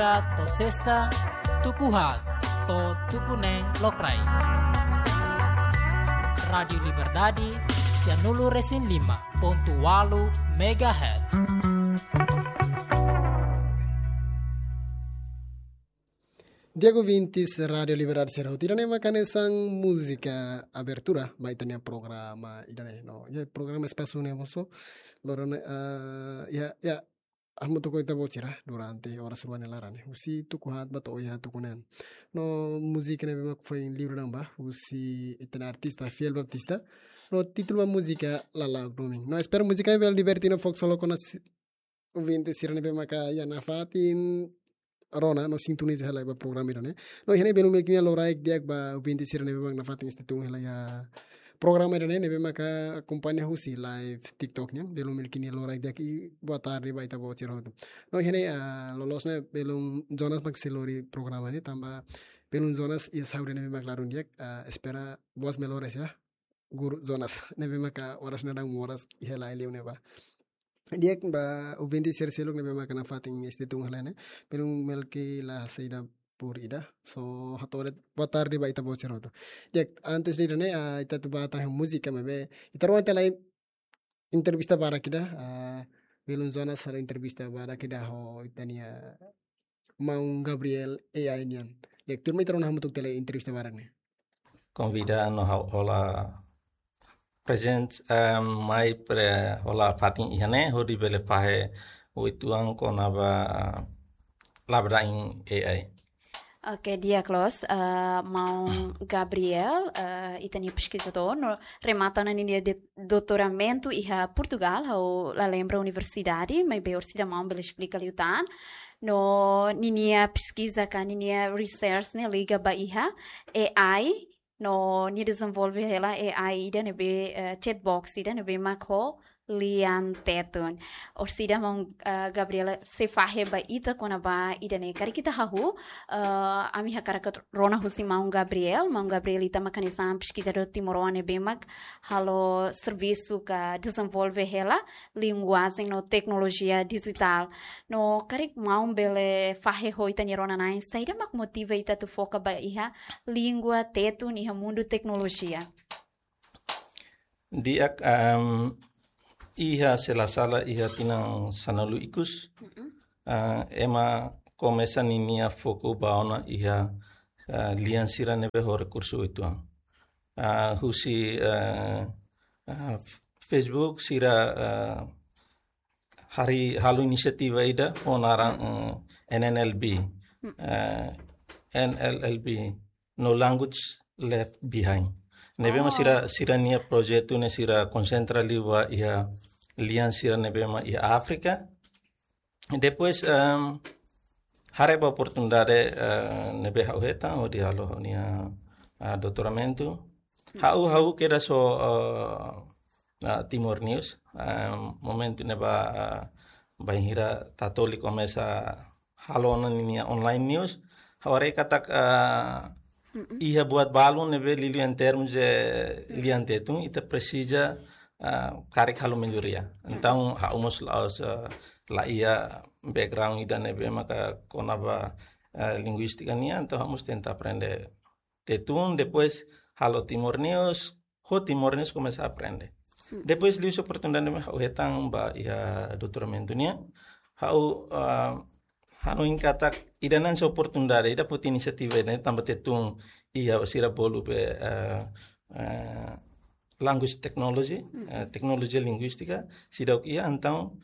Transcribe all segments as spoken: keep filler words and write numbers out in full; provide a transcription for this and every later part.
To'o sesta, tuku haat to'o tuku neen lokraik. Rádiu Liberdade, sianulu-resin-lima pontu ualu megahertz. Di'ak ouvintes Rádiu Liberdade sira hotu, ida-ne'e maka hanesan múzika abertura ba ita-nia programa ida-ne'e. No, iha programa Espasu ne'e mós, loron ne'e, ah, iha, iha, hamutuk ho ita-boot sira durante oras rua nia laran ne'e, husi tuku haat ba to'o iha tuku neen. No, múzika ne'ebé mak foin liurai ba husi ita-nia artista Fiel Baptista. No, títulu ba múzika Lala'ok Domin. No, espera múzika ne'e bele diverte no fó ksolok ona si-, ouvinte sira ne'ebé maka iha nafatin rona no sintoniza hela ba programa ida-ne'e. No, iha ne'e belun melkini loraik di'ak ba ouvinte sira ne'ebé mak nafatin stay tune hela iha programa ida-ne'e, ne'ebé maka akompaña husi live TikTok nian. Belun melkini loraik di'ak i boa tarde ba ita-boot sira hotu. No, iha ne'e, ah, loloos ne'e belun Jonas mak sei lori programa ne'e, tanba belun Jonas iha saúde ne'ebé mak ladún di'ak, ah, espera boas melhoras ya. Guru Jonas, ne'ebé maka oras ne'e daudaun moras iha la'en liu ne'ebá. Di'ak ba ouvinte sira seluk ne'ebé maka nafatin stay tune hela ne'e, belun melkini la saida por ida. So, hato'o de'it boa tarde ba ita-boot sira hotu. Di'ak, antes de ida-ne'e, ah, ita atu ba tau múzika maibé ita rona tiha lai entrevista badak ida, ah, belun Jonas halo entrevista badak ida ho ita-nia maun Gabriel A I nian. Di'ak, tuirmai ita rona hamutuk tiha lai entrevista badak ne'e. Konvida no ha'u hola prezente, eh, mai pre-, hola fatin iha ne'e, hodi bele fahe uitoan kona-ba labele da'in A I. Oke, di'ak loos, eh, maun Gabriel, eh, ita-nia peskizadór, no remata ona ninia de-, doutoramentu iha Portugal, ha'u la lembra universidade, maibé orsida maun bele esplika liután. No ninia peskiza ka ninia research ne'e liga ba iha A I, no nia dezenvolve hela A I ida ne'ebé, eh, chatbox ida ne'ebé mak ho lian Tetun. Orsida maun, eh, Gabriel sei fahe ba ita kona-ba ida-ne'e. Karik ita hahú, eh, ami hakarak atu rona husi maun Gabriel, maun Gabriel ita mak hanesan peskizadór timoroan ne'ebé mak halo servisu ka dezenvolve hela linguajen no teknolojia dijitál. No karik maun bele fahe ho ita-nia rona-na'in, saida mak motiva ita atu foka ba iha língua Tetun iha mundu teknolojia? Di'ak, em, iha se la sala iha tinan sanulu ikus, Mm-mm. eh, ema komesa ninia foku ba ona iha, eh, lian sira ne'ebé ho rekursu uitoan. Eh, husi, eh, eh, Facebook sira, eh, harii halo inisiativa ida ho naran, eh, N N L B. Mm. Eh, N L L B, No Language Left Behind. Ne'ebé mak Oh. sira, sira-nia projetu ne'e sira konsentra liu ba iha lian sira ne'ebé mak iha Áfrika. Depois, em, haree ba oportunidade, eh, ne'ebé ha'u hetan, hodi halo ha'u-nia, eh, doutoramentu. Mm. Ha'u, ha'u kedas ho, eh, ah, Timor News, ah, momentu ne'ebá, ah, bainhira Tatoli komesa halo ona ninia online news, ha'u haree katak, ah, Mm-mm. iha buat balun ne'ebé liuliu em termos de Mm. lian Tetun, ita presiza, ah, karik halo melhoria. Mm. Entaun, ha'u mós la'ós, ah, la iha background ida ne'ebé maka kona-ba, ah, linguístika nian, entaun ha'u mós tenta aprende Tetun, depois halo Timor News, ho Timor News komesa aprende. Hmm. Depois liuhusi oportunidade ne'ebé ha'u hetan ba iha doutoramentu nian, ha'u, ah, hanoin katak ida-ne'e hanesan oportunidade, ida foti inisiativa ida-ne'e tanba Tetun iha sira bolu be, ah, ah, language technology, Hmm. ah, teknolojia linguístika, seidauk iha, entaun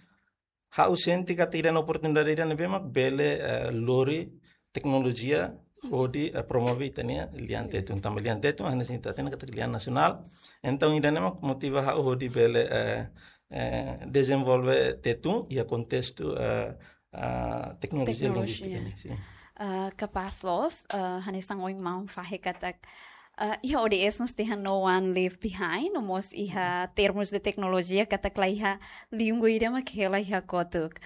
ha'u sente katak ida-ne'e oportunidade ida ne'ebé mak bele, eh, lori teknolojia hodi, eh, promove ita-nia lian Tetun. Tanba lian Tetun hanesan ita hatene katak lian nasionál. Entaun ida-ne'e mak motiva ha'u hodi bele, eh, eh, dezenvolve Tetun iha kontestu, eh, eh, teknolojia Teknolojia. linguístika nian, sin. Eh, kapás loos, eh, hanesan ohin maun fahe katak, eh, iha O D S mós dehan no one left behind, no mós iha termos de teknolojia katak la iha língua ida mak hela iha kotuk.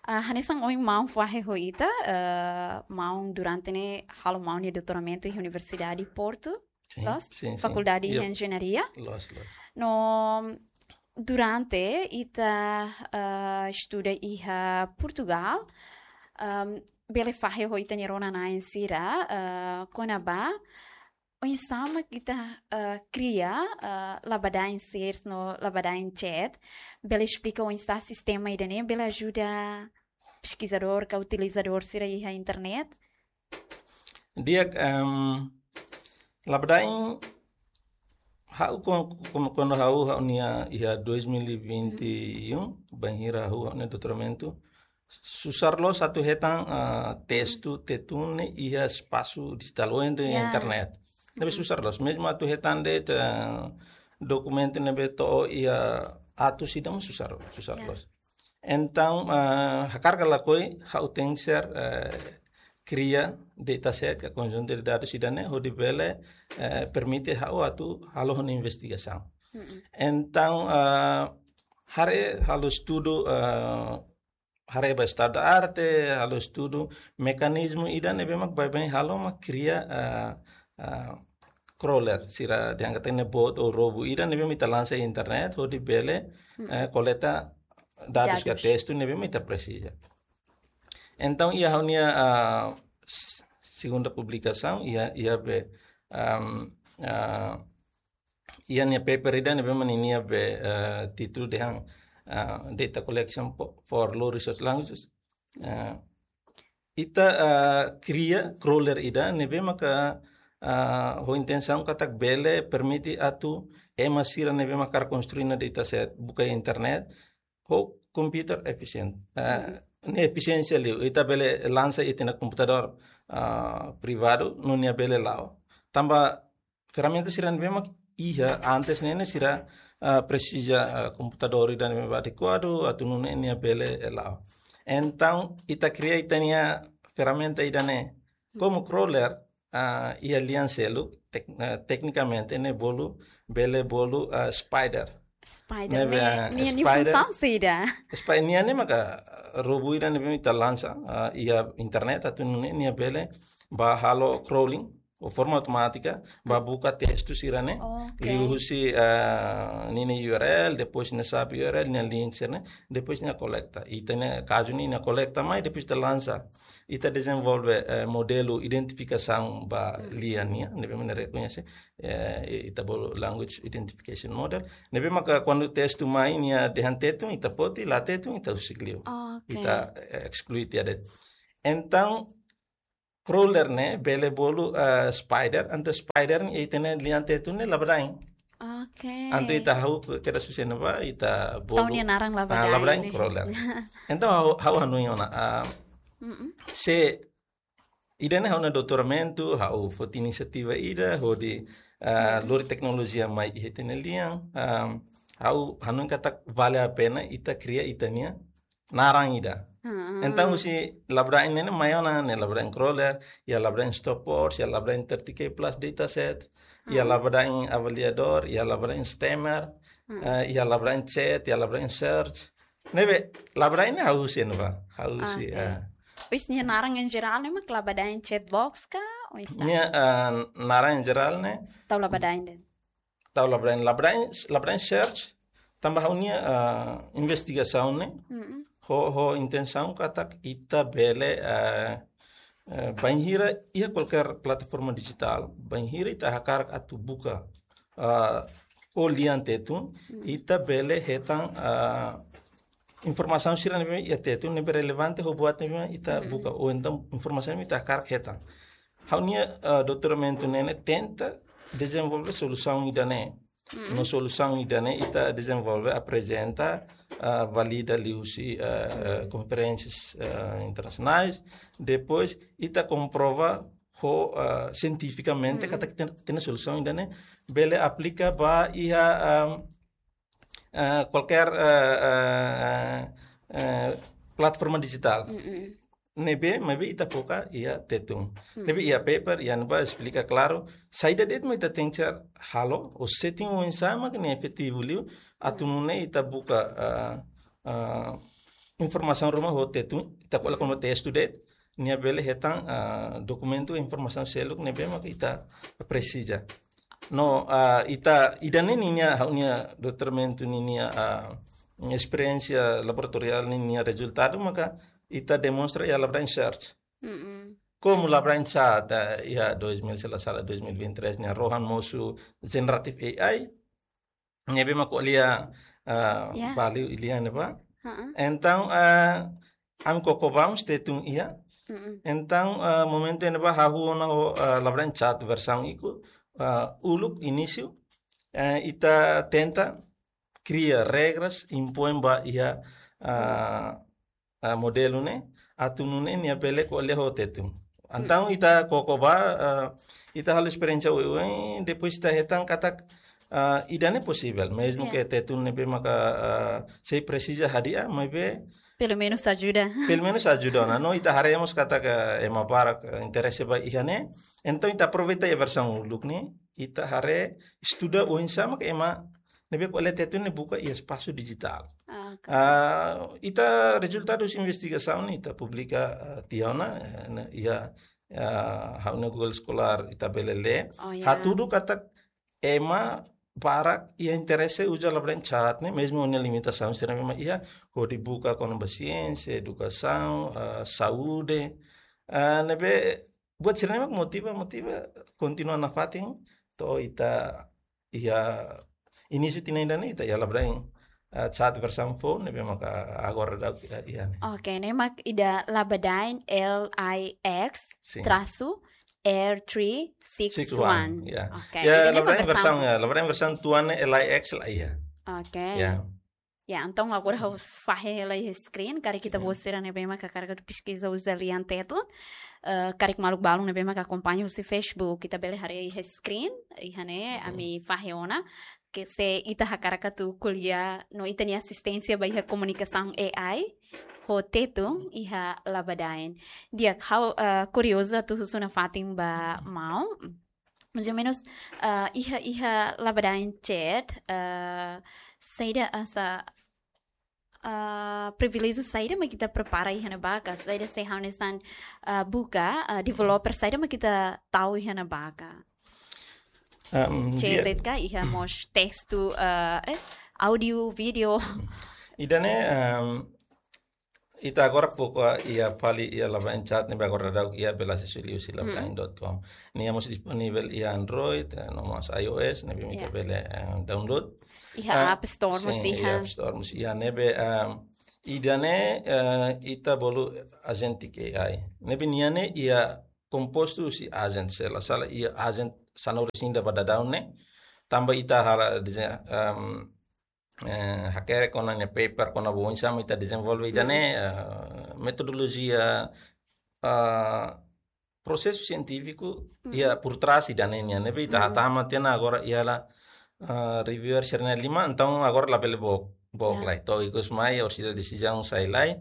Ah, hanesan ohin maun fahe ho ita, eh, maun durante ne'e halo maun nia doutoramentu iha Universidade Porto, Sin, loos? Sin, sin. Fakuldade Iya. Enjeñaria. Loos, loos. No, durante ita, eh, estuda iha Portugal, ehm, bele fahe ho ita-nia rona-na'in sira, eh, kona-ba oinsá mak ita, eh, kria, eh, labadain search no labadain chat, bele esplika oinsá sistema ida-ne'e bele ajuda peskizadór ka utilizadór sira iha internet? Di'ak, em, labadain ha'u kon-, kon-, kuandu ha'u, ha'u-nia iha dois mil e vinte e um, bainhira ha'u, ha'u-nia doutoramentu, susar loos atu hetan, ah, testu Tetun ne'e iha espasu dijitál ou entaun iha Ya. internet. Ne'ebé Mm-mm. susar loos. Mezmu atu hetan de'it, ah, dokumentu ne'ebé to'o iha atus ida mós susar, susar Ya. loos. Entaun, ah, hakarak ka lakohi, ha'u tenke ser, eh, kria dataset ka konjuntu de dadus ida-ne'e, hodi bele, eh, permite ha'u atu halo ha'u-nia investigasaun. Mm-mm. Entaun, ah, haree halo estudu, ah, haree ba estadu da arte, halo estudu mekanizmu ida ne'ebé mak baibain halo mak kria, ah, ah, crawler, sira dehan katak ne'e bot ou robu ida ne'ebé mak ita lansa iha internet, hodi bele, Mm. eh, koleta dadus ka Dadus. testu ne'ebé mak ita presiza. Entaun, iha ha'u-nia, ah, s-, segunda publikasaun, iha, iha be, am, ah, iha nia paper ida ne'ebé mak ninia be, eh, títulu dehan, ah, Data Collection po-, for Low Resource Languages. Eh, ita, ah, kria crawler ida ne'ebé maka, ah, ho intensaun katak bele permite atu ema sira ne'ebé mak hakarak konstrui nia dataset buka internet ho computer efficient. Ah, Mhm. ne'e efisiénsia liu, ita bele lansa iha ita-nia komputadór, ah, privadu, no nia bele la'o. Tanba ferramenta sira ne'ebé mak iha antes ne'e ne'e sira, ah, presiza, ah, komputadór ida ne'ebé mak adekuadu, atu nune'e nia bele, eh, la'o. Entaun, ita kria ita-nia ferramenta ida-ne'e. Komu crawler, ah, iha lian seluk, tek-, ah, teknikamente ne'e bolu, bele bolu, ah, spider. Spider, Ne'ebé, ne'e, ah, ne'e, ne'e spider. funsaun saida? Spi-, nia ne'e maka, ah, robu ida ne'ebé mak ita lansa, ah, iha internet, atu nune'e nia bele ba halo crawling, ou forma automátika, ba buka testu sira-ne'e. Ok. Liuhusi, ah, ninia U R L, depois nia sub U R L, nia link sira-ne'e, depois nia kolekta. Ita-nia kazu ne'e nia kolekta mai, depois ita lansa. Ita dezenvolve, eh, modelu identifikasaun ba Mhm. lian nian, ne'ebé mak nia rekoñese, eh, ita bolu language identification model. Ne'ebé maka kuandu testu mai nia dehan Tetun, ita foti, la Tetun, ita husik liu. Ok. Ita, eh, esklui tiha de'it. Entaun, crawler ne'e bele bolu, eh, spider, entaun spider ne'e ita-nia lian Tetun ne'e labadain. Ok. Entaun ita hahú kedas husi ne'ebá, ita Tau bolu, nia naran ah, labadain labadain ne'e. crawler. Entaun ha'u, ha'u hanoin ona, ah, Mm-mm. se ida-ne'e ha'u-nia doutoramentu, ha'u foti inisiativa ida, hodi, ah, Mm. lori teknolojia mai iha ita-nia lian, ah, ha'u hanoin katak vale a pena ita kria ita-nia naran ida. Ah. Entaun, husi labadain ne'e ne'e mai ona, ne'e labadain crawler, iha labadain stopwatch, iha labadain thirty K plus dataset, iha Ah. labadain avaliadór, iha labadain stemmer, Mm. eh, iha labadain chat, iha labadain search. Ne'ebé, labadain ne'e hahú husi ne'ebá, hahú husi, Ok. ah. Oinsá nia naran en jerál ne'e mak labadain chat box ka, oinsá? Nia, ah, naran en jerál ne'e Tau labadain de'it. Tau labadain, labadain, labadain search, tanba ha'u-nia, ah, investigasaun ne'e, Mm-mm. ho, ho intensaun katak ita bele, ah, eh, bainhira iha kualkér plataforma dijitál, bainhira ita hakarak atu buka, ah, ho lian Tetun, Mm. ita bele hetan, ah, informasaun sira ne'ebé iha Tetun ne'ebé relevante ho buat ne'ebé ita Mm-mm. buka, ou entaun informasaun ne'ebé ita hakarak hetan. Ha'u-nia, ah, doutoramentu ne'e ne'e tenta dezenvolve solusaun ida-ne'e. Mm-mm. No solusaun ida-ne'e ita dezenvolve, aprezenta, ah, valida liuhusi, ah, ah, Mm. konferénsias, ah, internasionais. Depois, ita komprova ho, ah, sientifikamente Mm. katak ita-nia, ita-nia solusaun ida-ne'e bele aplika ba iha, ah, ah, kualkér, ah, ah, ah, plataforma dijitál. Mm-mm. Ne'ebé, maibé ita foka iha Tetun. Hmm. Ne'ebé iha paper, iha ne'ebá esplika klaru, saida de'it mak ita tenke halo, ou setting oinsá mak nia efetivu liu, atu Hmm. nune'e ita buka, ah, ah, informasaun ruma ho Tetun, ita ko'alia Hmm. kona-ba testu de'it, nia bele hetan, ah, dokumentu informasaun seluk ne'ebé mak ita presiza. No, ah, ita, ida-ne'e ninia, ha'u-nia doutoramentu ninia, ah, esperiénsia laboratoriál ninia rezultadu, maka ita demonstra iha labadain search. Mm-mm. Komu labele chat, eh, iha dois mil, se la sala, dois mil e vinte e três, ne'e rohan mosu generative A I, ne'ebé mak ko'alia, ah, Ya. Bali ilian ne'ebá. Heeh. Entaun, ah, ami koko ba mós Tetun iha. Mm-mm. Entaun, ah, momentu ne'ebá hahú ona ho, ah, labele chat versaun ikus, ah, uluk inísiu, eh, ita tenta kria regras, impoin ba iha, ah, ah, modelu ne'e, atu nune'e nia bele ko'alia ho Tetun. Entaun, mm, ita koko ba, ah, ita halo esperiénsia oioin, depois ita hetan katak, ah, ida-ne'e posivel, mezmu, ya, ke Tetun ne'ebé maka, ah, sei presiza hadi'a, maibé pelumenus ajuda. Pelumenus ajuda ona. No ita haree mós katak ema barak, eh, interese ba iha ne'e. Entaun ita aproveita iha versaun uluk ne'e, ita haree, estuda oinsá mak ema ne'ebé ko'alia Tetun ne'e buka iha espasu dijitál. Ah, oke. Ah, ita rezultadu investigasaun ne'e ita publika, ah, tiha ona, eh, ne'e iha, ah, ha'u-nia Google Scholar ita bele lee. Oh, ya. Hatudu katak ema barak iha interese uza labele chat ne'e, mezmu ho nia limitasaun sira ne'ebé mak iha, hodi buka kona-ba siénsia, edukasaun, ah, saúde. Ah, ne'ebé buat sira-ne'e mak motiva, motiva, kontinua nafatin, to'o ita iha inísiu tinan ida-ne'e ita iha labele, ah, chat versaun foun ne'ebé maka agora daudaun iha ne'e. Oke, ne'e mak ida Labadaen, L I X, sin, trasu, R three six one. Six one, ya. Oke, ya, ida-ne'e mak labele versaun, versaun ya, labele versaun tuan ne'e L I X la iha. Oke. Ya. Ya, entaun agora ha'u fahe hela iha screen, karik ita, mm, bosira ne'ebé maka hakarak atu peskiza uza lian Tetun, eh, karik maluk balun ne'ebé maka akompaña husi Facebook, ita bele haree iha screen, iha ne'e, mm, ami fahe ona, ke se ita hakarak atu ko'alia no ita-nia asisténsia ba iha komunikasaun A I ho Tetun iha Labadaen. Di'ak, ha'u, eh, kuriozu atu husu nafatin ba maun. Mais ou menus, ah, iha, iha Labadaen chat, ah, saida hanesan, ah, priviléjiu saida mak ita prepara iha ne'ebá ka, saida se hanesan, ah, buka, ah, developer saida mak ita tau iha ne'ebá ka. Em, chat di'ak. Ka iha mós testu, ah, eh, áudiu, vídeo. Ida-ne'e, em, ita agora foka iha fali iha Labadaen chat ne'ebé agora daudaun iha bele asesu liuhusi, mm, labadaen dot com. Nia mós disponivel iha Android, eh, no mós iOS, ne'ebé ita, ya, bele, eh, download. Iha, ah, App Store, sin, mós iha, iha App Store mós iha ne'ebé, em, ida-ne'e, eh, ita bolu agentic A I. Ne'ebé nia ne'e iha kompostu husi agent, se la sala iha agent sanulu-resin-ida ba daudaun ne'e. Tanba ita halo dezeñu, em, eh, hakerek kona-ba paper, kona-ba oinsá mak ita dezenvolve ida-ne'e, mm, eh, metodolojia, eh, prosesu sientífiku, mm, iha por trás ida-ne'e nian, ne'ebé ita, mm, hatama tiha ona agora iha la, eh, reviewer sira-ne'e lima, entaun agora labele book, book, ya, lai. To'o ikus mai, orsida desizaun sai lai,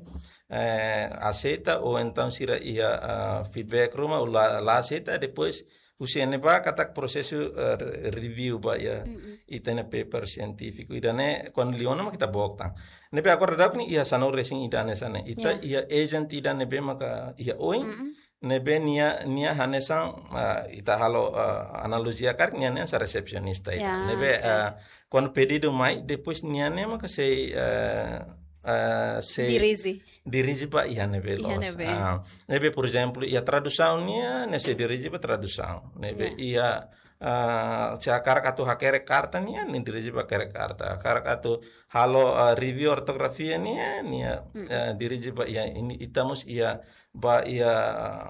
eh, aseita, ou entaun sira iha, eh, feedback ruma, ou la, la aseita, depois husi ne'ebá katak prosesu, eh, re-, review ba iha, mm-mm, ita-nia paper sientífiku ida-ne'e, kuandu liu ona mak ita book tan. Ne'ebé agora daudaun ne'e iha sanulu-resin-ida hanesan ne'e. Ita, ya, iha agent ida ne'ebé maka iha oin, mm-mm, ne'ebé nia, nia hanesan, ah, ita halo, ah, analojia karik nia ne'e hanesan resepsionista ida. Ya, ne'ebé, oke, ah, kuandu pedidu mai, depois nia ne'e maka sei, eh, eh, sei dirije, dirije ba iha ne'ebé, iha loos, ne'ebé. Ah, ne'ebé, por ezemplu, iha tradusaun nian, nia sei dirije ba tradusaun. Ne'ebé, ya, iha, ah, se hakarak atu hakerek karta nian, nia dirije ba hakerek karta. Hakarak atu halo, ah, review ortografia nian, nia, mm, eh, dirije ba iha, ita mós iha, ba iha, ah,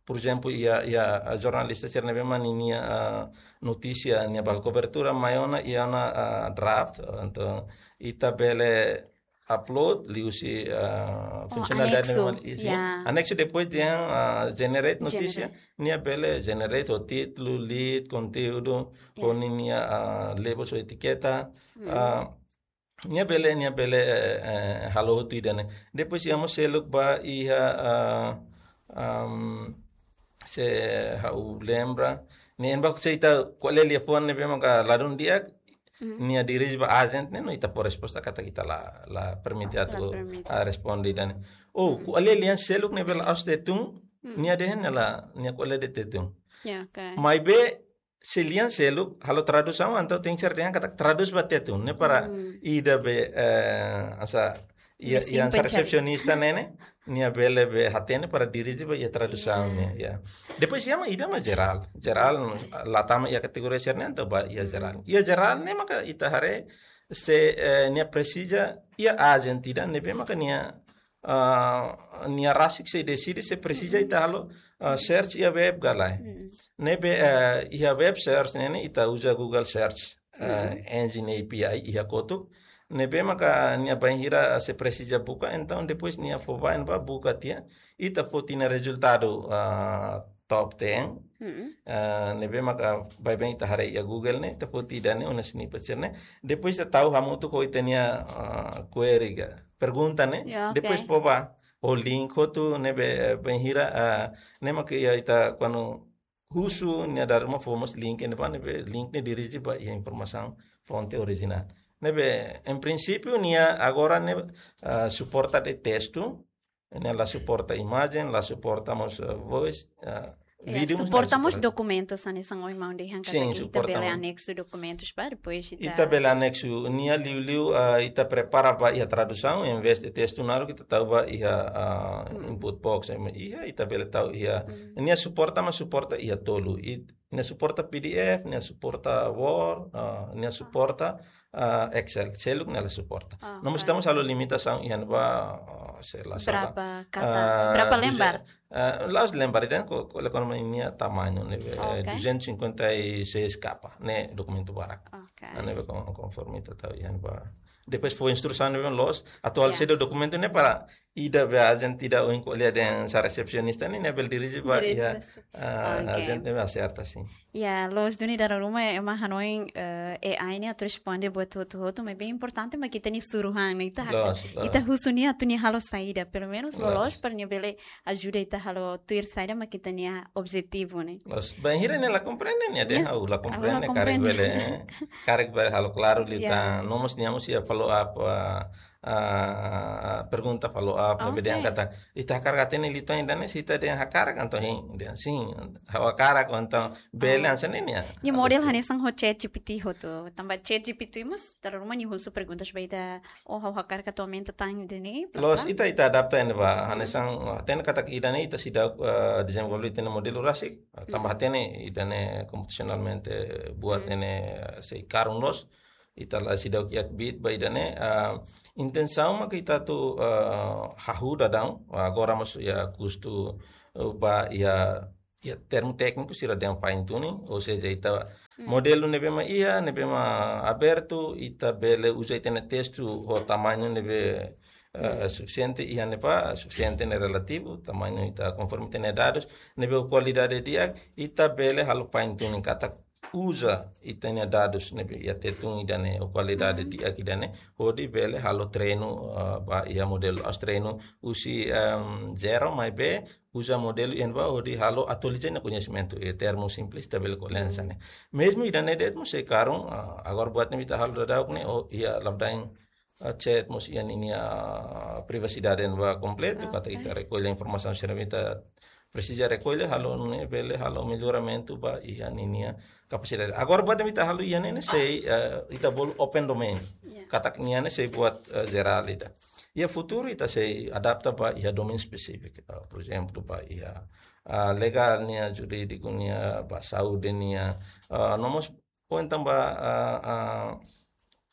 por ezemplu, iha, iha, ah, jornalista sira ne'ebé mak ninia, ah, notísia, nia ba halo kobertura, mai ona iha ona, ah, draft, entaun ita bele upload liuhusi, ah, oh, funsionalidade anexu, ne'ebé mak iha. Ya. Anexu depois dehan, ah, generate notísia, generate, nia bele generate ho títulu, lead, konteúdu, ya, ho ninia, ah, labels ou etiketa, mm, ah, nia bele, nia bele, eh, eh, halo hotu ida-ne'e. Depois iha mós seluk ba iha, ah, am, se ha'u lembra, ne'e ema balu se ita ko'alia liafuan ne'ebé maka ladún di'ak, mm, nia dirije ba agent ne'e, no ita fó resposta katak ita la, la permite, la atu, permite, ah, responde ida-ne'e. Oh, mm, ko'alia lian seluk ne'ebé la'ós Tetun, mm, nia dehan nia la, nia ko'alia de'it Tetun. Ya, oke. Maibé, se lian seluk halo tradusaun, entaun tenke ser dehan katak tradús ba Tetun, ne'e para, mm, ida be, eh, hanesan Iha, iha resepsionista ne'e, nia bele be hatene para dirije ba iha tradusaun ne'e, ya. Depois iha mak ida mak jerál. Jerál, la tama iha kategoria sira-ne'e, entaun ba iha jerál. Iha jerál ne'e maka ita haree se, eh, nia presiza iha agente ida ne'ebé maka nia, ah, nia rasik sei deside se presiza ita halo, ah, search iha web ka lae. Ne'ebé, eh, iha web search ne'e ne'e ita uza Google Search, eh, engine A P I iha kotuk. Ne'ebé maka nia bainhira se presiza buka, entaun depois nia fó ba, ba buka tiha, ita foti nia rezultadu, ah, top ten. Ah, ne'ebé maka baibain ita haree iha Google ne'e, ita foti ida-ne'e, ona sini pecel ne'e. Depois ita tau hamutuk ho ita-nia, ah, query ka, pergunta ne'e. Ya, oke. Depois fó ba, ho link hotu ne'ebé, eh, bainhira, ah, ne'e maka iha ita kuandu husu nia dadu mak fó mós link ne'ebá, ne'ebé link ne'e dirije ba iha informasaun fonte orijinál. Ne'ebé, em princípio, nia agora ne'e, ah, suporta de'it testu, nia la suporta imajen, la suporta mós, ah, voice, ah, vídeo, suporta mós dokumentu, hanesan ohin maun dehan katak ita bele aneksu dokumentus ba depois ita bele aneksu nia liuliu, ah, ita prepara ba iha tradusaun, em vez de testu naruk ita tau ba iha, ah, input box, em, iha ita bele tau iha. Nia suporta, mas suporta iha tolu. I, nia suporta P D F, nia suporta Word, ah, nia suporta, ah, Excel. Seluk nia la suporta. Ah, no mós oke. Ita mós halo limitasaun iha ne'ebá, ah, se la sala. Berapa kata, ah, berapa lembar? Ah, la'ós lembar, ida-ne'e ko, ko, la kona nia tamañu ne'e, eh, oke, duzentos e cinquenta e seis capa, ne'e dokumentu barak. Oke. Ah, ne'ebé kon-, konforme ita tau iha ne'ebá. Depois fó instrusaun ne'ebé loos, atuál, ya, sede dokumentu ne'e para ida be agente ida ohin ko'alia dehan sá resepsionista ne'e, ne'e bele dirije ba, dirije iha, ba, ah, oke, agente ne'ebé aserta, sin. Ya, loos duni, dala ruma ema hanoin, eh, A I ne'e atu responde buat hotu-hotu, maibé importante mak ita-nia suru han ne'e, ita hak-, loos, loos, ita husu nia atu nia halo saida, pelumenus, loos, loloos para nia bele ajuda ita halo tuir saida mak ita-nia objetivu ne'e. Loos, bainhira nia la komprende, nia dehan, yes, ha'u la, ha'u la komprende, karik komprende, bele, eh, karik bele halo klaru liután. Ya. No mós nia mós iha follow up, ah, ah, pergunta follow up, oke, ne'ebé dehan katak, ita hakarak hatene liután ida-ne'e, se ita dehan hakarak, entaun hein, dehan sin, ha'u hakarak, entaun bele, oh, hanesan ne'e nia. Nia model hanesan ho ChatGPT hotu, tanba ChatGPT mós dala ruma nia husu perguntas ba ita, oh, ha'u hakarak atu aumenta tan ida-ne'e, bla, bla. Loos, ita, ita adapta iha ne'ebá, hmm, hanesan, hatene katak ida-ne'e ita seidauk, eh, dezenvolve ita-nia modelu rasik, tanba, hmm, hatene ida-ne'e komputasionalmente buat, hmm, ne'e, eh, sei karun loos, ita la seidauk iha kbiit ba ida-ne'e, ah, intensaun mak ita atu, ah, hahú daudaun, agora mós iha kustu, eh, ba iha, iha termu tékniku sira dehan fine tuning, ou seja, ita, hmm, modelu ne'ebé mak iha, ne'ebé mak abertu, ita bele uza ita-nia testu ho tamañu ne'ebé, eh, hmm, sufisiente iha ne'ebá, sufisiente ne'e relativu, tamañu ita konforme ita-nia dadus, ne'ebé kualidade di'ak, ita bele halo fine tuning katak uza ita-nia dadus ne'ebé iha Tetun ida-ne'e, ho kualidade, mhm, di'ak ida-ne'e, hodi bele halo treinu, eh, ba iha modelu. La'ós treinu husi, em, zero, maibé uza modelu iha ne'ebá hodi halo atualiza nia koñesimentu, eh, termu simples ita bele ko'alia hanesan ne'e. Mhm. Mezmu ida-ne'e de'it mós sei karun, ah, agora buat ne'ebé ita halo daudauk ne'e, oh, iha labdain, ah, chat mós iha ninia, ah, privasidade ne'ebá kompletu, katak, oke, ita rekolla informasaun sira ne'ebé ita presiza rekolla, halo ne'e bele halo melloramentu ba iha ninia kapasidade. Agora buat ne'ebé ita halo iha ne'e ne'e sei, eh, ita bolu open domain. Ya. Katak nia ne'e sei buat, eh, jerál ida. Iha futuru ita sei adapta ba iha domain spesífiku. Eh, por ezemplu, ba iha, ah, legál nian, jurídiku nian, ba saúde nian, ah, no mós, ou entaun ba, ah, ah,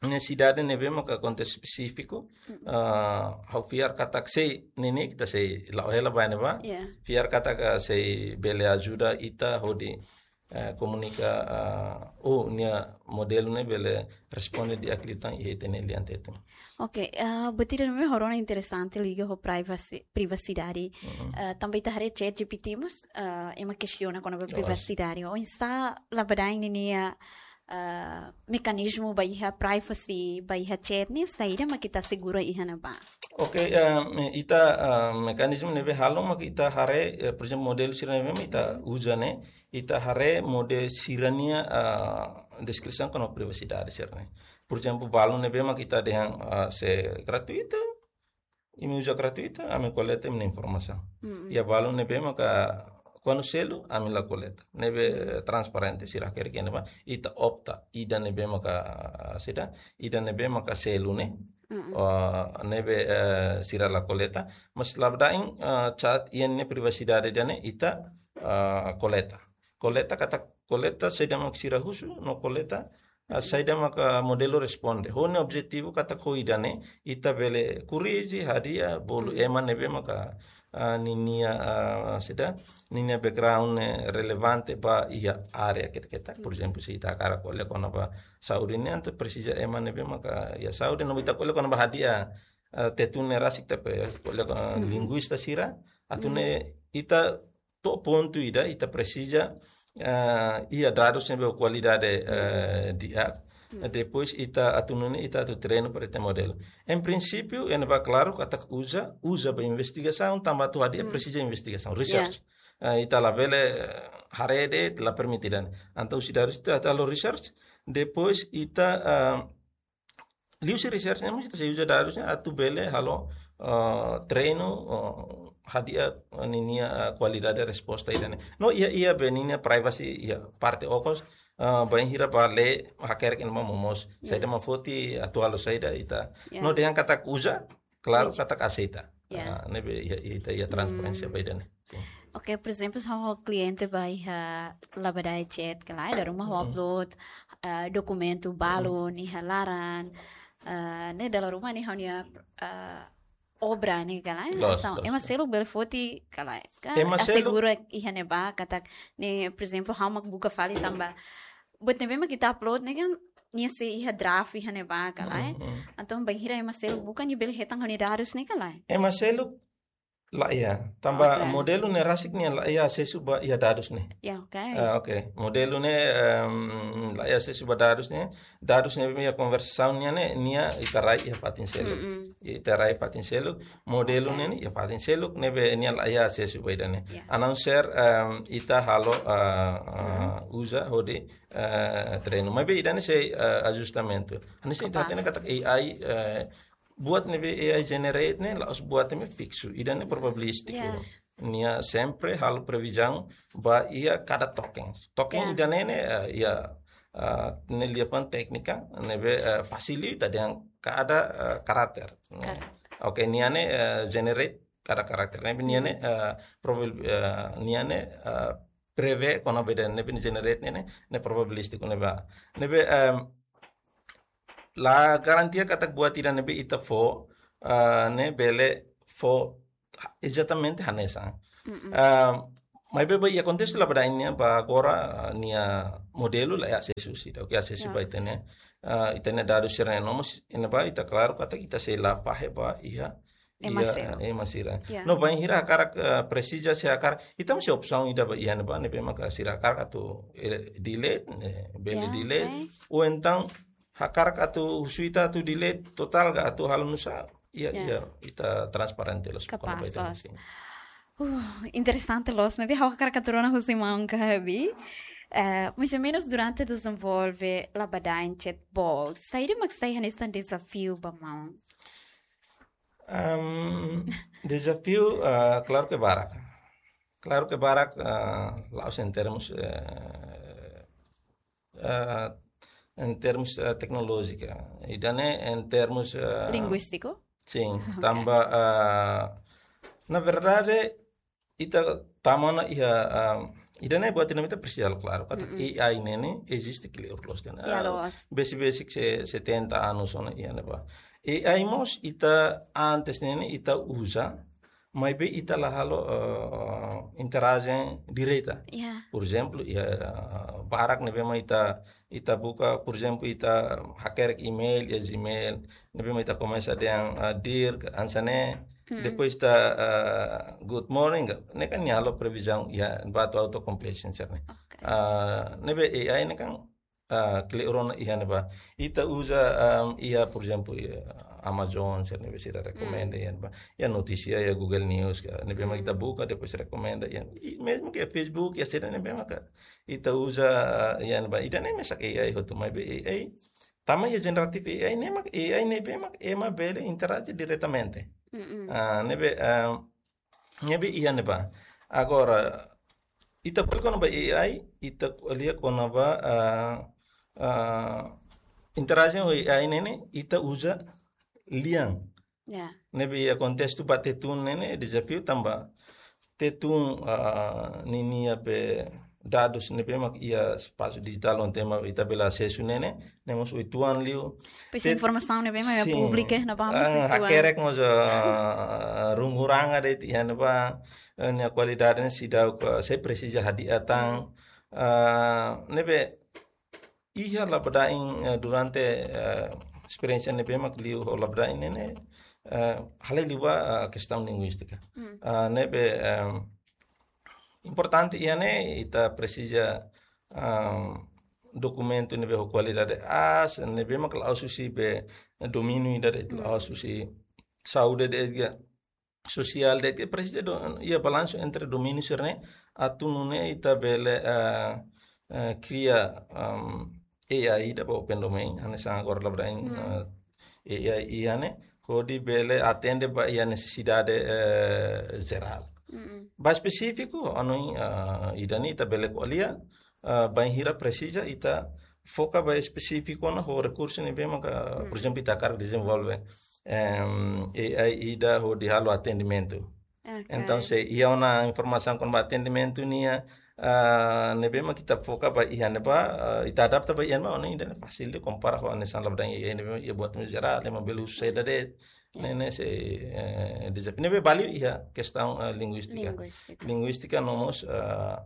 nesesidade ne'ebé maka kontestu espesífiku, mm-mm, ah, ha'u fiar katak sei, ne'e ne'e ita sei la'o hela ba ne'ebá. Ya. Fiar katak, ah, sei bele ajuda ita hodi, eh, komunika, ah, ou nia modelu ne'e bele responde di'ak liután iha ita-nia lian Tetun. Oke, eh, buat ida ne'ebé ho rona interesante liga ho privacy, privasidade. Mm-mm. Eh, tanba ita haree ChatGPT mós, eh, ema kestiona kona-ba, loos, privasidade. Oinsá labadain ninia, eh, mekanizmu ba iha privacy, ba iha chat ne'e, saida mak ita asegura iha ne'ebá? Oke, eh, me-, ita, eh, mekanizmu ne'ebé halo mak ita haree, eh, por ezemplu, modelu sira ne'ebé mak ita, mhm, uza ne'e, ita haree modelu sira-nia, eh, deskrisaun kona-ba privasidade sira-ne'e. Por ezemplu, balun ne'ebé mak ita dehan, eh, sei gratuitu, imi uza gratuitu, ami koleta imi-nia informasaun. Mm-mm. Iha balun ne'ebé maka kuandu selu, ami la koleta. Ne'ebé, mm, transparente, sira hakerek iha ne'ebá, ita opta ida ne'ebé maka, ah, saida, ida ne'ebé maka selu ne'e, Ah, ne'ebé, eh, sira la koleta, mas labadain, ah, chat iha nia privasidade ida-ne'e ita, ah, koleta. Koleta katak koleta saida mak sira husu, no koleta, ah, saida mak modelu responde. Ho nia objetivu katak ho ida-ne'e ita bele korrije, hadi'a, bolu ema ne'ebé maka, ah, ninia, ah, saida, ninia background ne'e relevante ba iha área ketak-ketak. Por ezemplu, se ita hakarak ko'alia kona-ba saúde nian, entaun presiza ema ne'ebé maka iha saúde, no ita ko'alia kona-ba hadi'a, ah, Tetun ne'e rasik, ita ko'alia kona linguista sira, atu nune'e ita to'o pontu ida, ita presiza, ah, iha dadus ne'ebé ho kualidade, eh, di'ak. Depois ita atu nune'e ita atu treinu para ita modelu. Em princípio, iha ne'ebá klaru katak uza, uza ba investigasaun, tanba atu hadi'a presiza investigasaun, research. Eh, ita labele, eh, haree de'it, la permite ida-ne'e. Entaun husi dadus ita, ita halo research, depois ita, ah, liuhusi research ne'e mós ita sei uza dadus ne'e atu bele halo, ah, treinu, ah, hadi'a, ah, ninia, ah, kualidade resposta ida-ne'e. No iha, iha be ninia privacy iha parte okos, ah, bainhira ba lee hakerek iha ne'ebá momoos. Saida mak foti, atu halo saida ita. No dehan katak uza, klaru katak aseita. Ah, ne'ebé iha, ita iha transparénsia ba ida-ne'e. Sin. Oke, por ezemplu, se ha'u kliente ba iha Labadae Chat ka lae, dala ruma ha'u upload, eh, dokumentu balun iha laran, eh, ne'e dala ruma ne'e ha'u-nia, eh, obra ne'e ka lae. Loos, entaun, loos, ema seluk bele foti ka lae. Ka ema seluk asegura iha ne'ebá katak ne'e, por ezemplu, ha'u mak buka fali tanba buat ne'ebé mak ita upload ne'e kan nia sei iha draft iha ne'ebá ka lae. Entaun, bainhira ema seluk buka, nia bele hetan ha'u-nia dadus ne'e ka lae. Ema seluk laiha, tanba modelu ne'e rasik nia laiha asesu ba iha dadus ne'e. Ya, oke. Ah, oke. Modelu ne'e, em, laiha asesu ba dadus ne'e. Dadus ne'ebé iha konversasaun nian ne'e, nia ita rai iha fatin seluk. Ita rai fatin seluk. Modelu ne'e ne'e iha fatin seluk, ne'ebé nia laiha asesu ba ida-ne'e. Ya. A não ser, em, ita halo, ah, ah, uza hodi, eh, treinu. Maibé ida-ne'e sei, eh, ajustamentu. Hanesan ita hatene katak A I, eh, buat ne'ebé A I generate ne'e, la'ós buat ne'ebé fiksu. Ida-ne'e probabilístiku. Ya. Nia sempre halo previzaun ba iha kada token. Token ida-ne'e ne'e, eh, iha, eh, ne'e liafuan téknika, ne'ebé, eh, fasil ita dehan kada, eh, karakter. Karakter. Oke, nia ne'e, eh, generate kada karakter. Ne'ebé nia ne'e, eh, probabil-, eh, nia ne'e, eh, prevee kona-ba ida-ne'ebé nia generate ne'e, ne'e, ne'e probabilístiku ne'ebá. Ne'ebé, em, la garantia katak buat ida ne'ebé ita fó, ah, ne'e bele fó ha-, ezatamente hanesan. Ah, maibé ba iha kontestu Labadae nian ba agora, ah, nia modelu laiha asesu husi ida, oke, asesu ba ita-nia, ah, ita-nia dadus sira-ne'e no mós, iha ne'ebá ita klaru katak ita sei la fahe ba iha ema sira. Ya. No bainhira hakarak, eh, presiza se hakarak, ita mós iha opsaun ida ba iha ne'ebá, ne'ebé maka sira hakarak atu, eh, delete, eh, bele delete. Oke. Ou entaun hakarak atu husu ita atu delete totál ka atu halo nusá, iha, iha, ita transparente loos kona-ba ida-ne'e. Sin. Uh, interesante loos, ne'ebé ha'u hakarak atu rona husi maun Gabi. Eh, mais ou menos durante dezenvolve Labadae Chatbot, saida mak sai hanesan dezafiu ba maun? Em, dezafiu, eh, klaru ke barak. Klaru ke barak, eh, la'ós em termos, eh, eh, em termos, eh, teknolójika. Ida-ne'e em termos, eh, linguístiku? Sin, oke. Tanba, eh, na verdade, ita tama ona iha, ah, ida-ne'e buat ida ne'ebé ita presiza halo klaru. Katak A I ne'e ne'e eziste kleur loos kan. Ya, ah, loos. Besik-besik se setenta anos ona iha ne'ebá. A I mós ita antes ne'e ne'e ita uza, maibé ita la halo, ah, interajen direta. Ya. Por ezemplu, iha, ah, barak ne'ebé mak ita ita buka, por ezemplu, ita hakerek email, iha Gmail, ne'ebé mak ita komesa dehan, ah, dear, hanesan ne'e, depois ita, ah, good morning, ne'e kan nia halo previzaun iha ba atu auto completion sira-ne'e. Oke. Ah, ne'ebé A I ne'e kan, ah, kleur ona iha ne'ebá. Ita uza, ah, iha, por ezemplu, iha Amazon, sira ne'ebé sira rekomenda iha ne'ebá. Iha notísia, iha Google News, ka, ne'ebé mak ita buka, depois rekomenda, iha, i mezmu ke Facebook, iha sira ne'ebé maka ita uza, iha ne'ebá, ida-ne'e mesak A I hotu, maibé A I, tama iha generative A I ne'e mak, A I ne'ebé mak ema bele interaje diretamente. Ah, ne'ebé, ah, ne'ebé iha ne'ebá. Agora, ita ko'alia kona-ba A I, ita ko'alia kona-ba, ah, ah, interajen ho A I ne'e ne'e, ita uza lian. Ya. Ne'ebé iha kontestu ba Tetun ne'e, ne'e dezafiu tanba Tetun, ah, ninia be dadus ne'ebé mak iha espasu dijitál, onde mak ita bele asesu ne'e, ne'e mós uitoan liu. Pois Tet-, informasaun ne'ebé mak iha sin, públiku, eh, ne'ebá mós ah, uitoan. Hakerek mós, ah, runguranga de'it iha ne'ebá, eh, nia kualidade ne'e seidauk, ah, sei presiza hadi'a tan. Ah, ne'ebé iha Labadain, eh, durante, eh, esperiénsia ne'ebé mak liu ho Labadain ne'e, ne'e, eh, hale liu ba, eh, kestaun linguístika. Hmm. Ah, ne'ebé, eh, importante iha ne'e ita presiza, ah, dokumentu ne'ebé ho kualidade aas, ne'ebé mak la'ós husi be domíniu ida de'it, hmm, la'ós husi saúde de'it, sosiál de'it, presiza do, iha balansu entre domíniu sira-ne'e, atu nune'e ita bele, eh, eh, kria, ehm, A I ida ba open domain, hanesan agora Labadain, hmm, eh, A I ida ne'e, hodi bele atende ba iha nesesidade, eh, jerál. Mm-mm. Ba espesífiku, anu, eh, ida-ne'e ita bele ko'alia, eh, bainhira presiza ita foka ba espesífiku ona ho rekursu ne'ebé maka, hmm, por ezemplu, ita hakarak dezenvolve, em, A I ida hodi halo atendimentu. Ok. Entaun, se iha ona informasaun kona-ba atendimentu nian, ah, ne'ebé mak ita foka ba iha ne'ebá, ah, ita adapta ba iha ne'ebá, ona ida-ne'e fasil de kompara ho hanesan Labadain A I ne'ebé iha buat ne'e jerál, ema bele uza de'it, ne'e, ne'e sei, eh, dezafiu. Ne'ebé ba liu iha kestaun, eh, linguístika. Linguístika. Linguístika no mós, eh,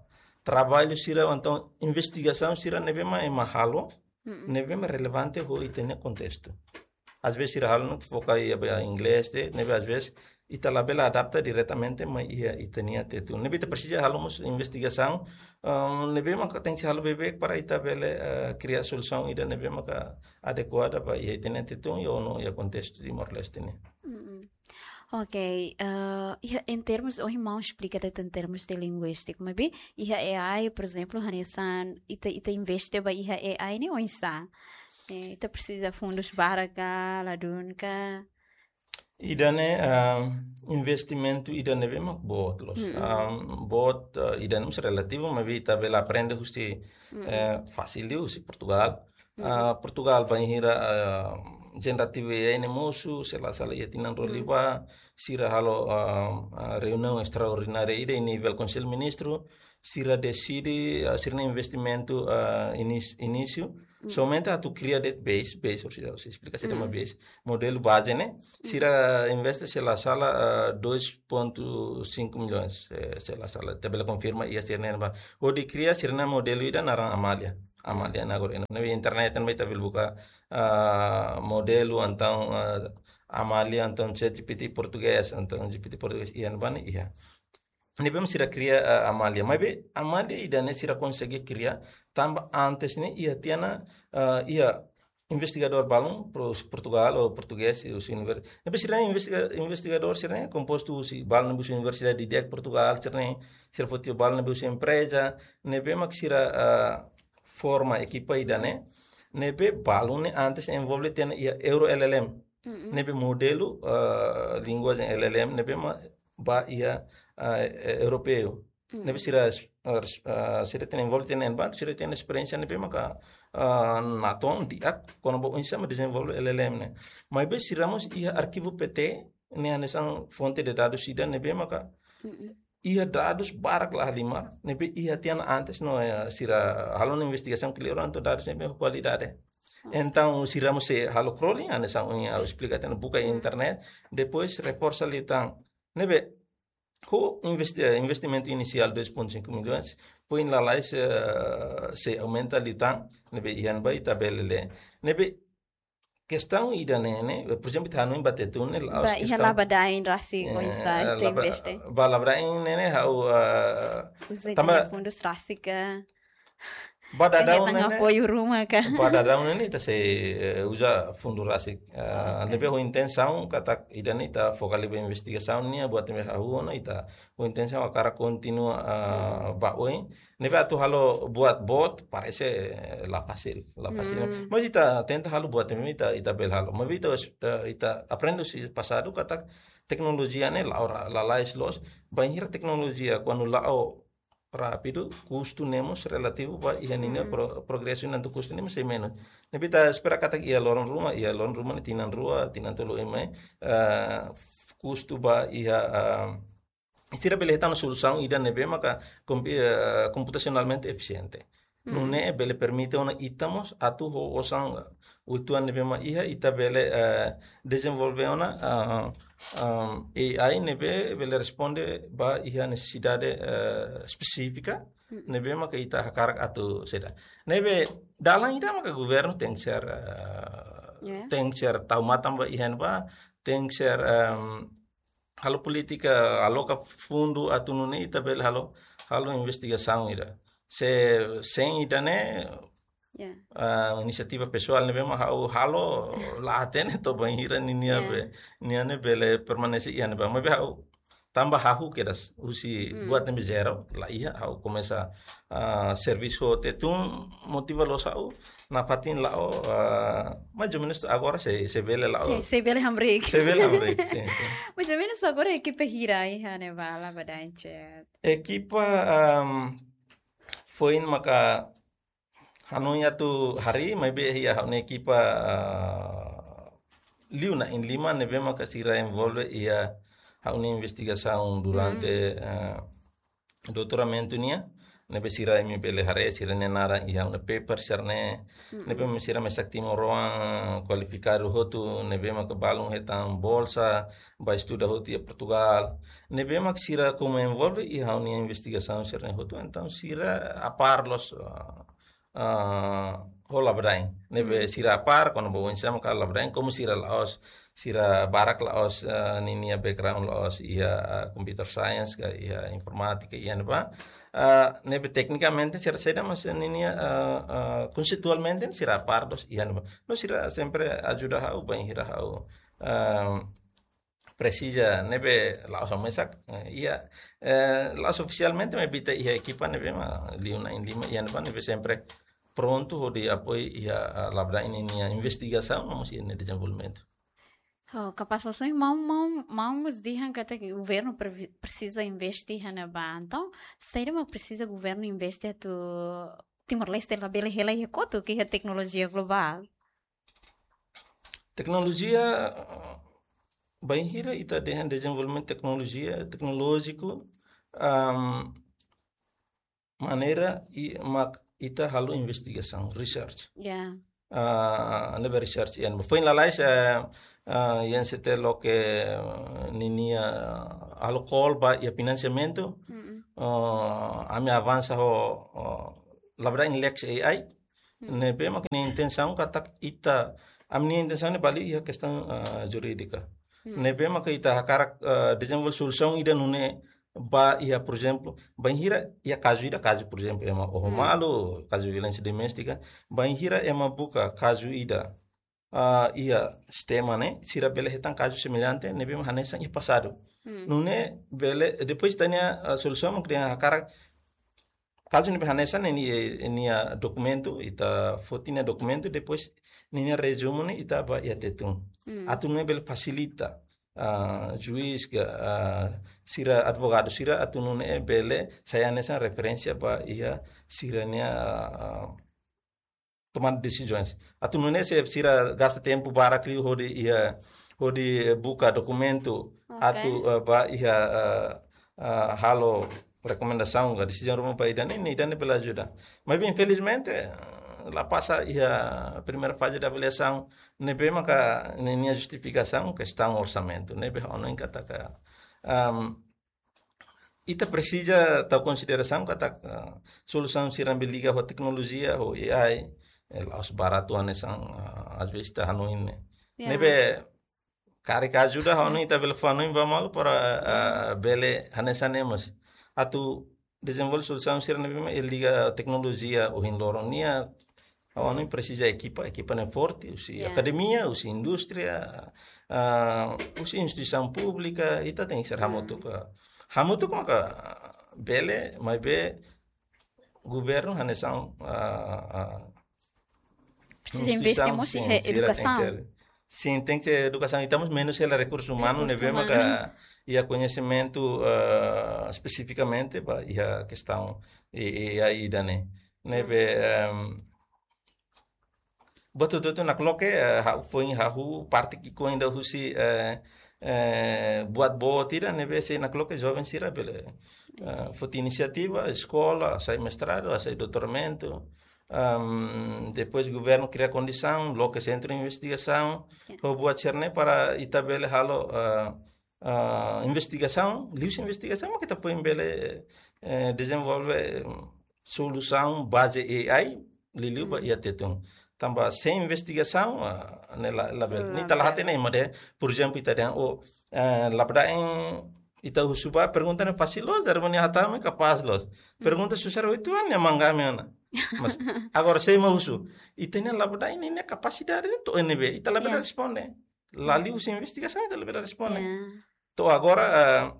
traballu sira, entaun investigasaun sira ne'ebé mak ema halo, mm-mm, ne'ebé mak relevante ho ita-nia kontestu. Às vezes sira halo ne'e foka iha ba inglés de'it, ne'ebé às vezes ita labele adapta diretamente mai iha ita-nia Tetun. Ne'ebé ita presiza halo mós investigasaun, eh, ne'ebé maka tenke halo beibeik para ita bele, eh, kria solusaun ida ne'ebé maka adekuada ba iha ita-nia Tetun, iha ona iha kontestu Timor-Leste nian. Mm-mm. Ok, eh, iha, em termos, ohin maun esplika de'it em termos de linguístika, maibé iha A I, por ezemplu, hanesan ita, ita investe ba iha A I ne'e oinsá? Eh, ita presiza fundus barak ka, ladún ka? Ida-ne'e, ah, investimentu ida ne'ebé mak boot loos. Mm-mm. Ah, boot, ah, ida-ne'e mós relativu, maibé ita bele aprende husi, mm-mm, eh, fasil liu husi Portugal. Ah, Portugal bainhira, ah, generative A I ne'e mosu, se la sala iha tinan rua liubá, sira halo, ah, ah, reuniaun estraordinária ida iha nivel Konsellu Ministru, sira deside, ah, sira-nia investimentu, ah, inis-, inísiu, somente atu kria de'it base, base, ou seja, esplika saida mak base, modelu baze ne'e, sira investe se la sala, ah, dois ponto cinco milhões, eh, se la sala, ita bele konfirma iha sira-ne'e ba. Hodi kria sira-nia modelu ida naran Amália. Amália ne'e agora iha internet ne'ebá ita bele buka, ah, modelu entaun, ah, Amália entaun ChatGPT portugés, entaun G P T portugés iha ne'ebá ne'e iha. Ne'ebé mak sira kria, ah, Amália. Maibé Amália ida-ne'e sira konsege kria tanba antes ne'e iha tiha ona, ah, iha investigadór balun, pro-, Portugal ou portugés, husi univers-, ne'ebé sira investiga-, investigadór sira-ne'e kompostu husi balun ne'ebé husi universidade didi'ak Portugal sira-ne'e, sira foti balun ne'ebé husi empreza, ne'ebé mak sira, ah, forma ekipa ida-ne'e, ne'ebé balun ne'e antes envolve tiha ona iha Euro L L M. Mm-mm. Ne'ebé modelu, ah, linguajen L L M, ne'ebé mak ba iha, ah, eh, europeu. Mm. Ne'ebé sira, ah, res-, ah, sira tiha ona envolve tiha ona iha banku, sira tiha ona esperiénsia ne'ebé maka, ah, natoon di'ak, kona-ba oinsá mak dezenvolve L L M ne'e. Maibé sira mós iha arkivu P T, ne'e hanesan fonte de dadus ida ne'ebé maka, mm-mm, iha dadus barak la halimar, ne'ebé iha tiha ona antes no, eh, sira halo ona investigasaun kleur entaun dadus ne'ebé ho kualidade. Ah. Entaun sira mós sei halo crawling, hanesan ohin ha'u esplika tiha ona buka iha, hmm, internet, depois reforsa liután. Ne'ebé, ho investi-, eh, investimentu inisiál dois ponto cinco milhões, foin lalais, eh, sei aumenta liután, ne'ebé iha ne'ebá ita bele lee. Ne'ebé kestaun ida-ne'e, ne'e, por ezemplu, ita hanoin ba Tetun ne'e, la'ós, ba iha kestaun Labadain rasik, eh, oinsá ita Laba-, investe. Ba Labadain ne'e, ne'e, ha'u, eh, uza tanba tiha ona fundus rasik ka? Ba daudaun ne'e, ne'e, apoiu ruma ka? Ba daudaun ne'e, ne'e, ita sei, eh, uza fundu rasik. Eh, ok. Ne'ebé ho intensaun katak ida-ne'e ita foka liu ba investigasaun nian, buat ne'ebé hahú ona ita ho intensaun hakarak kontinua, eh, hmm, ba oin. Ne'ebé atu halo buat boot, parese, eh, la fasil, la fasil. Hmm. Mas ita tenta halo buat ne'ebé ita, ita bele halo. Mas ita, eh, ita aprende husi pasadu katak teknolojia ne'e la'o ra-, lalais loos. Bainhira teknolojia kuandu la'o rápidu, kustu ne'e mós relativu ba iha ninia pro-, progresu, entaun kustu ne'e mós sei menus. Ne'ebé ita espera katak iha loron ruma, iha loron ruma ne'e tinan rua, tinan tolu ema, eh, kustu ba iha, ah, sira bele hetan solusaun ida ne'ebé maka kompi-, eh, komputasionalmente efisiente. Nune'e bele permite ona ita mós atu ho osan uitoan ne'ebé mak iha ita bele, eh, dezenvolve ona, ah, ah, A I ne'ebé bele responde ba iha nesesidade, eh, espesífika ne'ebé maka ita hakarak atu seda. Ne'ebé dalan ida maka governu tenke ser, eh, Ya. tenke ser tau matan ba iha ne'ebá, tenke ser, em, halo polítika, aloka fundu atu nune'e ita bele halo, halo investigasaun ida. Se, sein ida-ne'e, Ya. ah, inisiativa pesoál ne'ebé mak ha'u halo la hatene to'o bainhira ninia Ya. be, nia ne'e bele permanese iha ne'ebá. Maibé ha'u tanba ha'u kedas husi buat ne'ebé zero, la iha, ha'u komesa, ah, servisu ho Tetun, motiva loos ha'u, nafatin la'o, ah, mais ou menus agora sei, sei bele la'o. Sei, sei bele hamriik. Sei bele hamriik, sin, sin. Mais ou menus agora ekipa hira iha ne'ebá Labadaen Chat? Ekipa, am, foin maka hanoin atu harii, maibé iha ha'u-nia ekipa, ah, liu na'in-lima ne'ebé maka sira envolve iha ha'u-nia investigasaun durante, ah, doutoramentu nian. Ne'ebé sira imi bele haree, sira-nia naran iha ha'u-nia paper sira-ne'e. Ne'ebé sira mesak timoroan kualifikadu hotu, ne'ebé maka balun hetan bolsa ba estuda hotu iha Portugal. Ne'ebé maka sira komu envolve iha ha'u-nia investigasaun sira-ne'e hotu, entaun sira apár loos, ah, ah, ho Labadaen. Ne'ebé sira apár, kona-ba oinsá maka Labadaen, komu sira la'ós, sira barak la'ós, ah, ninia background la'ós iha, ah, computer science ka iha informátika iha ne'ebá. Ah, ne'ebé teknikamente sira saida, mas ninia, ah, ah, konseiualmente sira apár loos iha ne'ebá. No sira sempre ajuda ha'u, bainhira ha'u, ah, presiza ne'ebé la'ós mesak, eh, iha, eh, la'ós ofisialmente maibé ita iha ekipa ne'ebé mak liu na'in-lima iha ne'ebá ne'ebé sempre prontu hodi apoiu iha, ah, Labadaen ninia investigasaun no mós iha nia dezenvolvimentu. Oh, kapás loos, maun, maun, maun mós dehan katak governu previ-, presiza investe iha ne'ebá. Entaun, saida mak presiza governu investe atu Timor-Leste labele hela iha kotuk iha teknolojia globál? Teknolojia, eh, bainhira ita dehan dezenvolvimentu teknolojia, teknolójiku, am, maneira i-, mak ita halo investigasaun, research. Ya. Ah, ne'ebé research iha ne'ebá. Foin lalais, eh, ah, I N C T loke, eh, ninia, ah, halo call ba iha finansiamentu. Ah, ami avansa ho, oh, Labadaen Lex A I. Ne'ebé maka nia intensaun katak ita, ami-nia intensaun ne'e ba liu iha kestaun, ah, jurídika. Ne'ebé maka ita hakarak, ah, dezenvolve solusaun ida nune'e ba iha, por ezemplu, bainhira iha kazu ida, kazu, por ezemplu, ema oho malu, kazu violénsia doméstika, bainhira ema buka kazu ida, ah, iha sistema ne'e, sira bele hetan kazu semellante ne'ebé mak hanesan iha pasadu. Nune'e bele, depois ita-nia, ah, solusaun maka ita hakarak kazu ne'ebé hanesan ne'e nia, nia dokumentu, ita foti nia dokumentu, depois ninia rezumu ne'e ita bá iha Tetun. Atu nune'e bele fasilita, ah, juís ka, ah, sira advogadu sira atu nune'e bele sai hanesan referénsia ba iha sira-nia, ah, tomada desizaun. Atu nune'e se sira gasta tempu barak liu hodi iha, hodi buka dokumentu, Ok. atu, eh, bá iha, eh, eh, halo rekomendasaun ka desizaun ruma ba ida-ne'e, ida-ne'e bele ajuda. Maibé infelizmente, eh, la pasa iha primeira faze de avaliasaun, ne'ebé maka ninia justifikasaun kestaun orsamentu, ne'ebé ha'u hanoin katak, am, ita presiza tau konsiderasaun katak, ah, solusaun sira ne'ebé liga ho teknolojia, ho A I, eh, la'ós baratu hanesan, ah, às vezes ita hanoin ne'e. Ya. Ne'ebé karik ajuda ha'u hanoin ita bele fó hanoin ba malu para, ah, bele hanesan ne'e mós. Atu dezenvolve solusaun sira ne'ebé mak liga teknolojia ohin loron nian, ha'u hanoin presiza ekipa, ekipa ne'e forte, husi Ya. akademia, husi indústria, ah, husi instituisaun públika, ita tenke ser hamutuk. Hamutuk maka bele, maibé governu hanesan, ah, ah, Presiza investe instituisaun, mós sin, iha sira tenke edukasaun. ser Sin, tenke edukasaun, ita mós menus hela rekursu umanu, ne'ebé maka iha koñesimentu, eh, espesifikamente ba iha kestaun, eh, eh, A I ida-ne'e. Ne'ebé, em, buat hotu-hotu nakloke, eh, ha'u foin hahú parte ki'ikoan ida husi, eh, eh, buat boot ida, ne'ebé sei nakloke joven sira bele, eh, foti inisiativa, eskola, hasai mestradu, hasai doutoramentu. Em, depois governu kria kondisaun, loke sentru investigasaun, ho buat sira-ne'e para ita bele halo, eh, eh, investigasaun, liuhusi investigasaun, maka ita foin bele, eh, dezenvolve, em, solusaun baze A I, liuliu ba iha Tetun. Tanba sein investigasaun, ah, ne'e la, labele. Ne'e ita la hatene ema dehan, por ezemplu, ita dehan, oh, eh, labele dehan ita husu ba pergunta ne'e fasil loos, dari mana hatama kapás loos. Pergunta susar oituan ne'e mangga me ana. Mas, agora sei mak husu. Ita-nia labele dehan ninia kapasidade ne'e to'o ne'ebé, ita labele responde. La liuhusi investigasaun ita labele responde. To'o agora, eh,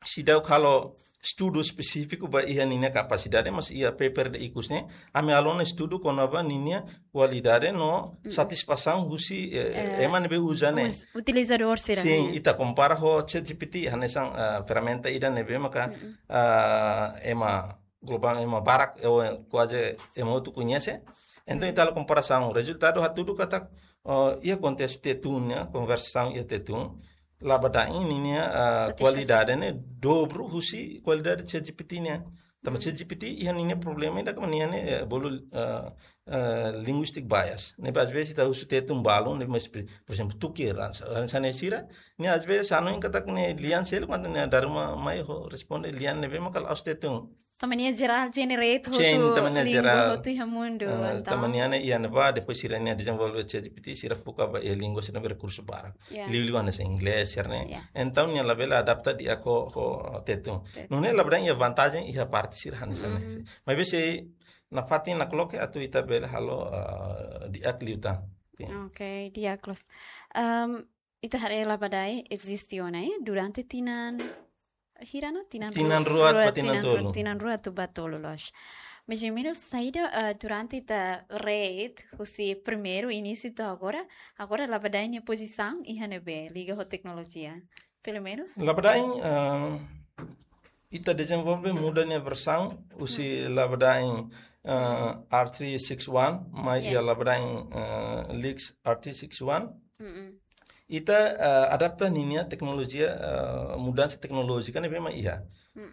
seidauk halo estudu espesífiku ba iha ninia kapasidade, mas iha paper ida ikus ne'e, ami halo ona estudu kona-ba ninia kualidade no satisfasaun husi, eh, ema ne'ebé uza ne'e. Utilizadór sira. Sin, ita kompara ho ChatGPT, hanesan, eh, ferramenta ida ne'ebé maka, eh, ema globál, ema barak, eh, kuaze ema hotu koñese. Entaun ita halo komparasaun, rezultadu hatudu katak, eh, iha kontestu Tetun nian, konversasaun iha Tetun, labele dehan ninia, eh, kualidade ne'e dobru husi kualidade ChatGPT nian. Tanba ChatGPT iha ninia problema ida, kama ninia ne'e, eh, bolu, eh, eh, linguistic bias. Ne'ebé às vezes ita husu Tetun balun, ne'e mas, por ezemplu, tuke, hanesan ne'e sira, ne'e às vezes hanoin katak ne'e lian seluk, kuandu ne'e dala ruma mai ho responde lian ne'ebé maka la'ós Tetun. Tanba nia jerál generate hotu, tanba nia língua jerál hotu iha mundu, eh, entaun. Tanba nia ne'e iha ne'ebá, depois sira-nia dezenvolve ChatGPT, sira foka ba iha língua sira ne'ebé rekursu barak. Liuliu hanesan inglés sira-ne'e. Entaun nia labele adapta di'ak ho, ho Tetun. Nune'e labele dehan iha vantajen iha parte sira hanesan ne'e. Maibé sei nafatin nakloke atu ita bele halo, eh, di'ak liután. Oke, di'ak loos. Em, ita haree Labadai eziste ona, eh, durante tinan hira ona, tinan rua, tinan rua ba tinan tolu. Tinan rua atu ba tolu loos. Mais ou menus saida, eh, durante ita haree husi primeiru inísiu to'o agora, agora Labadai nia pozisaun iha ne'ebé liga ho teknolojia? Pelumenus? Labadai, eh, ita dezenvolve muda nia versaun husi Labadai, eh, R three six one, mai iha Labadai, eh, Lex R three six one. Ita, eh, adapta ninia teknolojia, eh, mudansa teknolójika ne'ebé mak iha.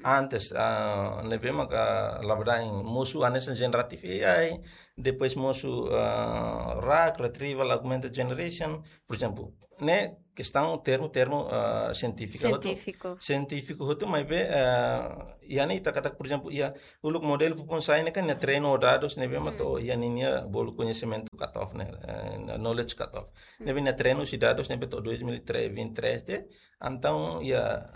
Antes, eh, ne'ebé maka Labadai mosu hanesan generative A I, depois mosu, eh, RAG, Retrieval Augmented Generation, por ezemplu, ne'e kestaun termu-termu, eh, sientífika hotu. Sientífiku. Sientífiku hotu, maibé, eh, iha ne'e ita katak, por ezemplu, iha uluk modelu foufoun sai ne'e kan nia treinu dadus ne'ebé mak to'o iha ninia bolu koñesimentu cutoff ne'e, eh, knowledge cutoff. Ne'ebé nia treinu husi dadus ne'ebé to'o dois mil e três, vinte e três de'it, entaun iha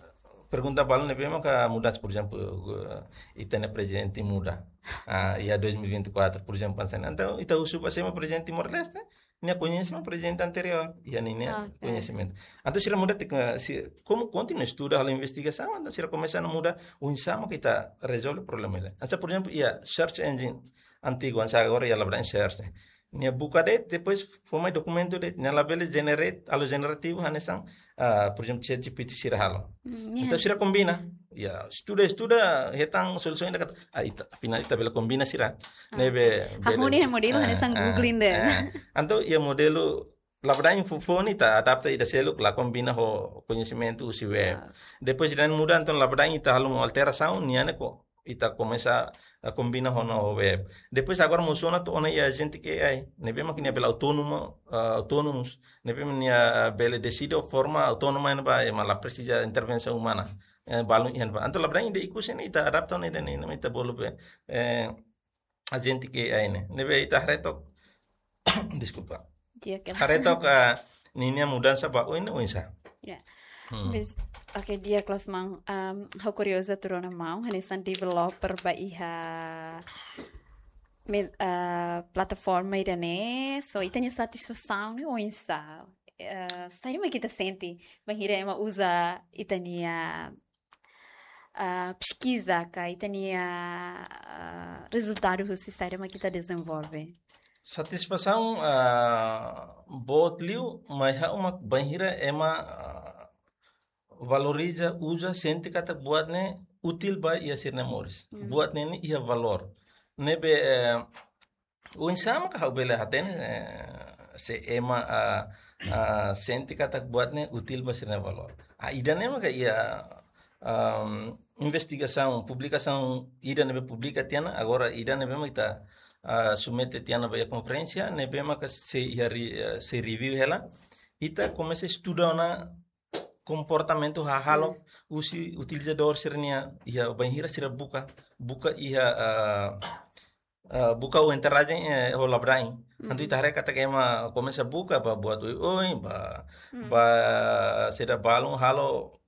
pergunta balun ne'ebé maka mudansa, por ezemplu, eh, ita-nia prezidente muda. Ah, iha dois mil e vinte e quatro, por ezemplu, hanesan ne'e. Entaun ita husu ba sé mak prezidente Timor-Leste, nia koñese mak prezidente anteriór, iha ninia koñesimentu. Entaun sira muda tek-, si, komu kontinua estuda, halo investigasaun, entaun sira komesa muda, oinsá mak ita rezolve problema ida. Hanesan, por ezemplu, iha search engine antigu, hanesan agora iha Labadai search ne'e. Nia buka de'it, depois fó mai dokumentu de'it, nia labele generate, halo generativu, hanesan, ah, por ezemplu, ChatGPT sira halo. Entaun sira kombina. Ya, estuda, estuda, hetan solusaun ida katak, ah, ita, afinál ita bele kombina sira. Ne'ebé bele. Hahú nia modelu hanesan Google ida. Entaun iha modelu Labadai foufoun ne'e ita adapta ida seluk la kombina ho koñesimentu husi web. Depois ida-ne'e muda, entaun Labadai ita halo uma alterasaun, nia ne'e ko ita komesa, eh, kombina ho, no, ho web. Depois agora mosu ona to'o ona iha agentic A I. Ne'ebé mak nia bele autónomu, eh, autonomous. Ne'ebé mak nia bele deside ho forma autónoma ne'ebá, ema la presiza intervensaun umana. Eh, balun iha ne'ebá. Entaun Labadai ida ikus ne'e ita adapta ona ida-ne'e, ita bolu be, eh, agentic A I ne'e. Ne'ebé ita haree took. Deskulpa. Haree took, eh, ninia mudansa ba oin, oinsá. Ya. Bes, oke, di'ak loos maun, um, ha'u kuriozu atu rona maun, hanesan developer ba iha me-, eh, plataforma ida-ne'e, so ita-nia satisfasaun ne'e oinsá? Eh, saida mak ita sente, bainhira ema uza ita-nia, eh, peskiza ka ita-nia, eh, rezultadu husi saida mak ita dezenvolve? Satisfasaun, ah, boot liu, mai ha'u mak bainhira ema, ah, valoriza, uza, sente katak buat ne'e útil ba iha sira-nia moris. Hmm. Buat ne'e ne'e iha valór. Ne'ebé, eh, oinsá mak ha'u bele hatene, eh, se ema, ah, ah, sente katak buat ne'e útil ba sira-nia valór. Ah, ida-ne'e maka iha, am, investigasaun, publikasaun ida ne'ebé publika tiha ona, agora ida ne'ebé mak ita, ah, submete tiha ona ba iha konferénsia, ne'ebé maka sei iha re-, eh, sei review hela. Ita komesa estuda ona komportamentu hahalok, hmm, husi utilizadór sira-nia, iha bainhira sira buka, buka iha, ah, ah, buka ho enterrajen, eh, ho labadain. Entaun, hmm, ita haree katak ema komesa buka ba buat oioin, ba, hmm, ba saida, balun halo,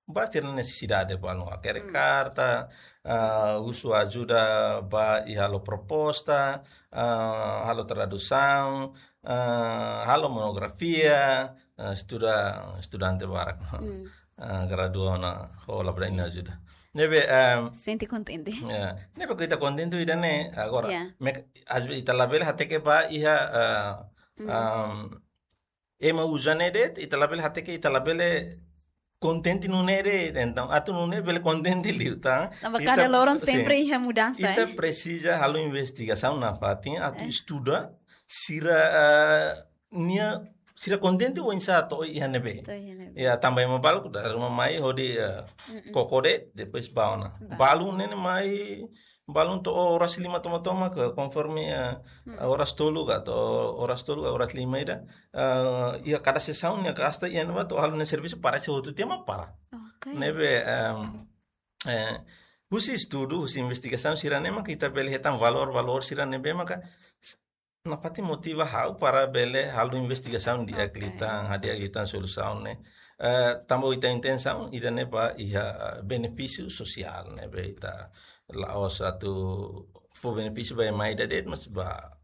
ba sira-nia nesesidade balun. Hakerek, hmm, karta, ah, husu ajuda ba iha halo proposta, ah, halo tradusaun, ah, halo monografia, ah, estuda, estudante barak. Hmm. Ah, gradua ona ho labadain nia ajuda. Ne'ebé, em, sente kontente. Ya. Ne'ebé ita kontente ida-ne'e agora. Ya. Mek-, às vezes ita labele hateke ba iha, ah, hmm, am, ema uza ne'e de'it, ita labele hateke, ita labele kontente nune'e de'it. Entaun, atu nune'e bele kontente liu, tá? Tanba ita, kada loron, sin, sempre iha mudansa, ita, eh, presiza halo investigasaun nafatin, atu, eh, estuda sira, ah, nia, sira kontente oinsá to'o iha ne'ebé. To'o iha ne'ebé. Ya, tanba ema balu dala ruma mai hodi, eh, mm-mm, koko de'it, depois bá ona. Bá. Balun ne'e mai, balun to'o oras lima tomak-tomak, ke konforme, eh, hmm, oras tolu ka, to'o oras tolu ka, oras lima ida. Eh, iha kada sesaun nia gasta iha ne'ebá to'o halo nia servisu, parese hotu tiha mak para. Oke. Ne'ebé, em, eh, husi estudu, husi investigasaun sira-ne'e maka ita bele hetan valór, valór sira ne'ebé maka nafatin motiva ha'u para bele halo investigasaun di'ak, oke, liután, hadi'a liután solusaun ne'e. Eh, tanba ita intensaun ida-ne'e ba iha, eh, benefísiu sosiál ne'ebé ita la'ós atu fó benefísiu ba ema ida de'it, mas ba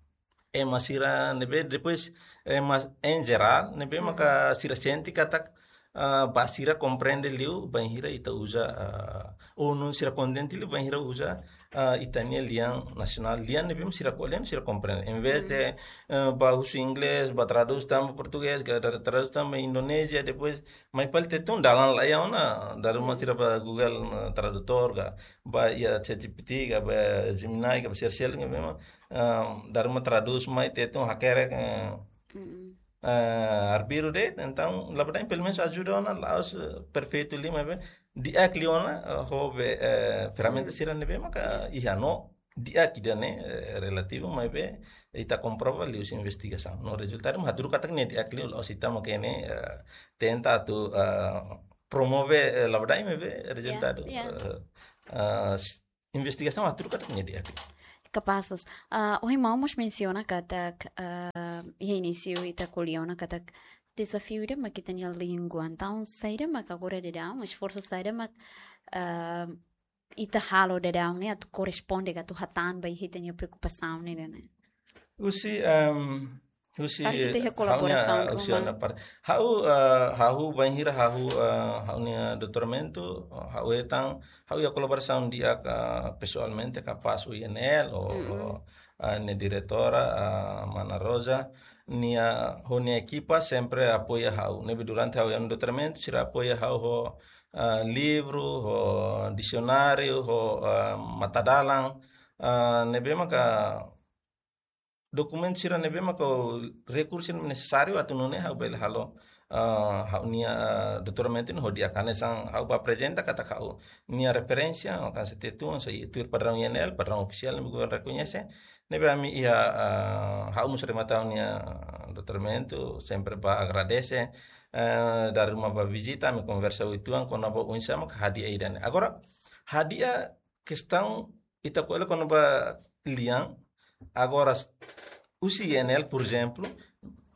ema sira ne'ebé, depois ema em geral ne'ebé, hmm, maka sira sente katak, ah, ba sira komprende liu bainhira ita uza, ah, ou nune'e sira kontente liu bainhira uza, ah, ita-nia lian nasionál, lian ne'ebé sira ko-, lian sira komprende. Em vez, hmm, de, eh, bá husu inglés, bá tradús tan ba portugés, ka tra-, tradús tan ba Indonézia, depois mai fali Tetun, dalan la iha ona, dala ruma, hmm, sira bá Google, eh, Tradutor, ka bá iha ChatGPT, ka bá Gemini, ka bá sira seluk, ka bá, ah, dala ruma tradús mai Tetun, hakerek, eh, mm-mm, eh, arbiru de'it, entaun, labadain pelumenus ajuda ona, la'ós, eh, perfeitu liu, maibé di'ak liu ona, eh, ho be, eh, ferramenta, mm, sira ne'ebé maka iha no, di'ak ida-ne'e, eh, relativu, maibé ita komprova liuhusi investigasaun. No rezultadu mak hatudu katak ne'e di'ak liu, la'ós ita mak ne'e, eh, tenta atu, eh, promove, eh, labadain, maibé, ya, rezultadu, ya, eh, eh, s-, investigasaun hatudu katak ne'e di'ak. Kapás. Ah, ohin maun mós mensiona katak, ah, iha inísiu ita ko'alia ona katak dezafiu ida mak ita-nia língua. Entaun, saida mak agora daudaun, esforsu saida mak, ah, ita halo daudaun ne'e atu korresponde ka atu hatán ba iha ita-nia preokupasaun ne'e, ne'e? Husi, em, husi, para ita iha, eh, ha'u-nia kolaborasaun ruma. Husi ha'u-nia par-, ha'u, eh, ha'u bainhira ha'u, eh, ha'u-nia doutoramentu, eh, ha'u hetan, ha'u iha kolaborasaun di'ak, eh, pesoalmente, kapás U I N L, ho, mm-mm, ho, eh, nia diretora, eh, Mana Rosa, nia, ho nia ekipa sempre apoia ha'u. Ne'ebé durante ha'u iha doutoramentu, sira apoia ha'u ho, eh, livru, ho disionáriu, ho, eh, matadalan, eh, ne'ebé maka dokumentu sira ne'ebé maka rekursu nesesáriu atu nune'e ha'u bele halo, ah, ha'u-nia, ah, doutoramentu ne'e ho di'ak. Hanesan ha'u bá aprezenta katak ha'u-nia referénsia, maka se Tetun, se tuir padraun U N L, padraun ofisiál ne'ebé governu rekoñese. Ne'ebé ami iha, ah, ha'u mós remata ha'u-nia, ah, doutoramentu, sempre bá agradese, eh, dala ruma bá vizita, ami konversa uitoan kona-ba oinsá mak hadi'a ida-ne'e. Agora, hadi'a kestaun ita ko'alia kona-ba lian, agora s-, husi U N L, por ezemplu,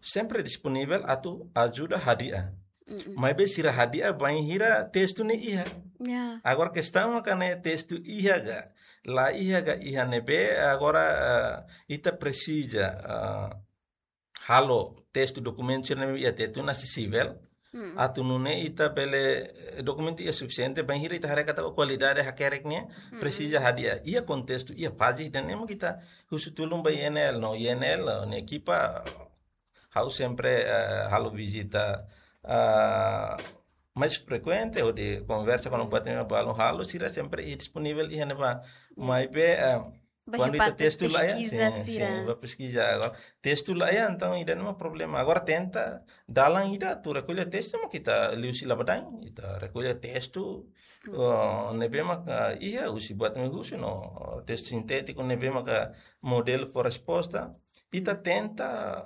sempre disponivel atu ajuda hadi'a. Mm-mm. Maibé sira hadi'a bainhira testu ne'e iha. Ya. Agora kestaun mak ne'e testu iha ka, la iha ka, iha ne'ebé, agora, ah, ita presiza, ah, halo testu dokumentu sira ne'ebé iha Tetun asesivel, Atu nune'e ita bele, eh, dokumentu iha sufisiente, bainhira ita haree katak kualidade hakerek nian, presiza hadi'a. Iha kontestu, iha faze ida-ne'e mak ita husu tulun ba I N L, no I N L, no ekipa, ha'u sempre, eh, halo vizita, ah, mais frekuente, hodi konversa ho buat ne'ebé balun halo, sira sempre iha disponivel iha ne'ebá. Maibé, eh, Ba kuandu ita parte testu laiha, peskiza sin, sira. Sin, ba peskiza. Agora, testu laiha, entaun ida-ne'e mak problema. Agora tenta, dalan ida atu rekolla testu mak ita liuhusi labadain, ita rekolla testu, oh, ne'ebé maka iha husi buat ne'ebé husi no, testu sintétiku ne'ebé maka modelu fó resposta. Ita tenta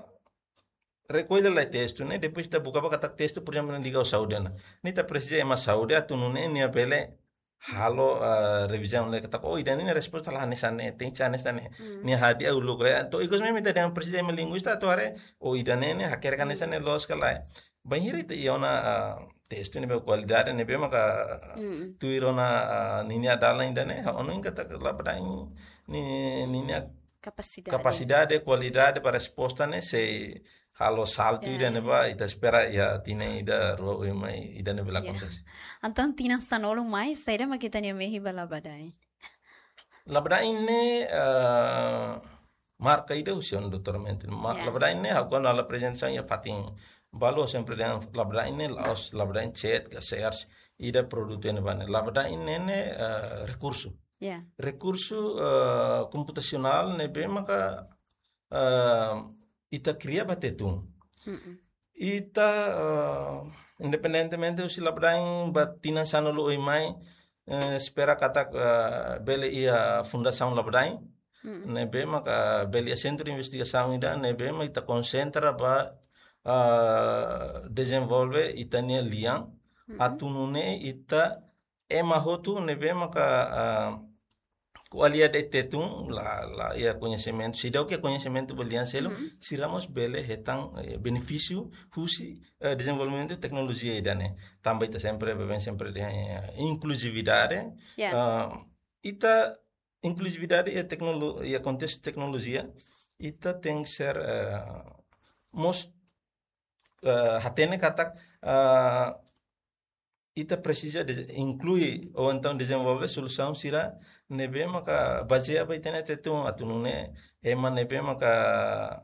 rekolla lai testu ne'e, depois ita buka ba katak testu, por ezemplu, liga ho saúde ona. Ne'e ita presiza ema saúde atu nune'e nia bele halo, eh, revizaun lai katak, oh, ida-ne'e nia resposta la hanesan ne'e, tenke hanesan ne'e. Nia hadi'a uluk lai. Entaun ikus mezmu ita dehan presiza ema linguista atu haree, oh, ida-ne'e nia hakerek hanesan ne'e loos ka lae. Bainhira ita iha ona, ah, testu ne'ebé kualidade ne'ebé maka tuir ona, ah, ninia dalan ida-ne'e, ha'u hanoin katak labadain ni-, ninia Kapasidade. Kapasidade, kualidade ba resposta ne'e sei halo saltu ida-ne'ebá, ita espera iha tinan ida rua oin mai ida-ne'e bele akontese. Entaun tinan sanulu mai, saida mak ita-nia mehi ba labadain? Labadain ne'e, eh, marka ida husi ona doutora Mentin. Ma-, labadain ne'e, ha'u kuandu halo aprezentasaun iha fatin balu, sempre dehan labadain ne'e la'ós labadain chat ka search, ida produtu ne'ebá ne'e. Labadain ne'e, ne'e, eh, rekursu. Ya. Rekursu, eh, komputasionál ne'ebé maka, eh, ita kria ba Tetun. Ita, eh, independentemente husi labadain ba tinan sanulu oin mai, eh, espera katak, eh, bele iha fundasaun labadain. Ne'ebé maka bele iha sentru investigasaun ida, ne'ebé maka ita konsentra ba, eh, dezenvolve ita-nia lian. Atu nune'e ita ema hotu ne'ebé maka, ah, ko'alia de'it Tetun la, la iha koñesimentu. Seidauk iha koñesimentu ba lian seluk, sira mós bele hetan, eh, benefísiu husi, eh, dezenvolvimentu teknolojia ida-ne'e. Tanba ita sempre, baibain sempre dehan, eh, inkluzividade. Ya. Ah, ita inkluzividade iha teknolo-, iha kontestu teknolojia, ita tenke ser, eh, mós, eh, hatene katak, eh, ita presiza de-, inklui ou entaun dezenvolve solusaun sira ne'ebé maka bazeia ba ita-nia Tetun, atu nune'e ema ne'ebé maka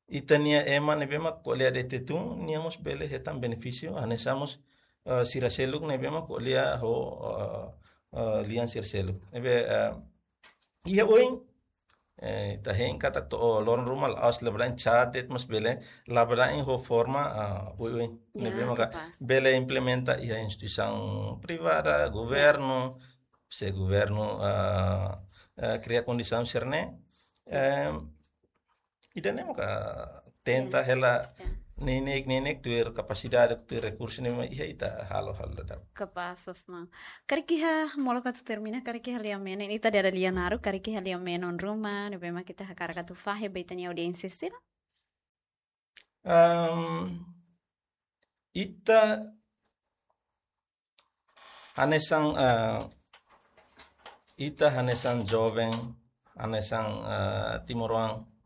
ita-nia ema ne'ebé maka ko'alia de'it Tetun, nia mós bele hetan benefísiu, hanesan mós, eh, sira seluk ne'ebé maka ko'alia ho, eh, eh, lian sira seluk. Ne'ebé, eh, iha oin, eh, ita hein katak to'o loron ruma la'ós labadain chat de'it, mas bele labadain ho forma, ah, oioin. Ya, ne'ebé maka kapás. Bele implementa iha instituisaun privada, governu, se governu, ah, ah, kria kondisaun sira-ne'e. Em, ida-ne'e maka tenta hela neineik-neineik tuir kapasidade, tuir rekursu ne'ebé iha ita halo, halo dadauk. Kapás, Osman. Karik iha, molok atu termina, karik iha lia-menon, ita dada lia naruk, karik iha lia-menon ruma ne'ebé mak ita hakarak atu fahe ba ita-nia audiénsia sira? Am, ita hanesan, eh, ita hanesan joven, hanesan, eh, timoroan,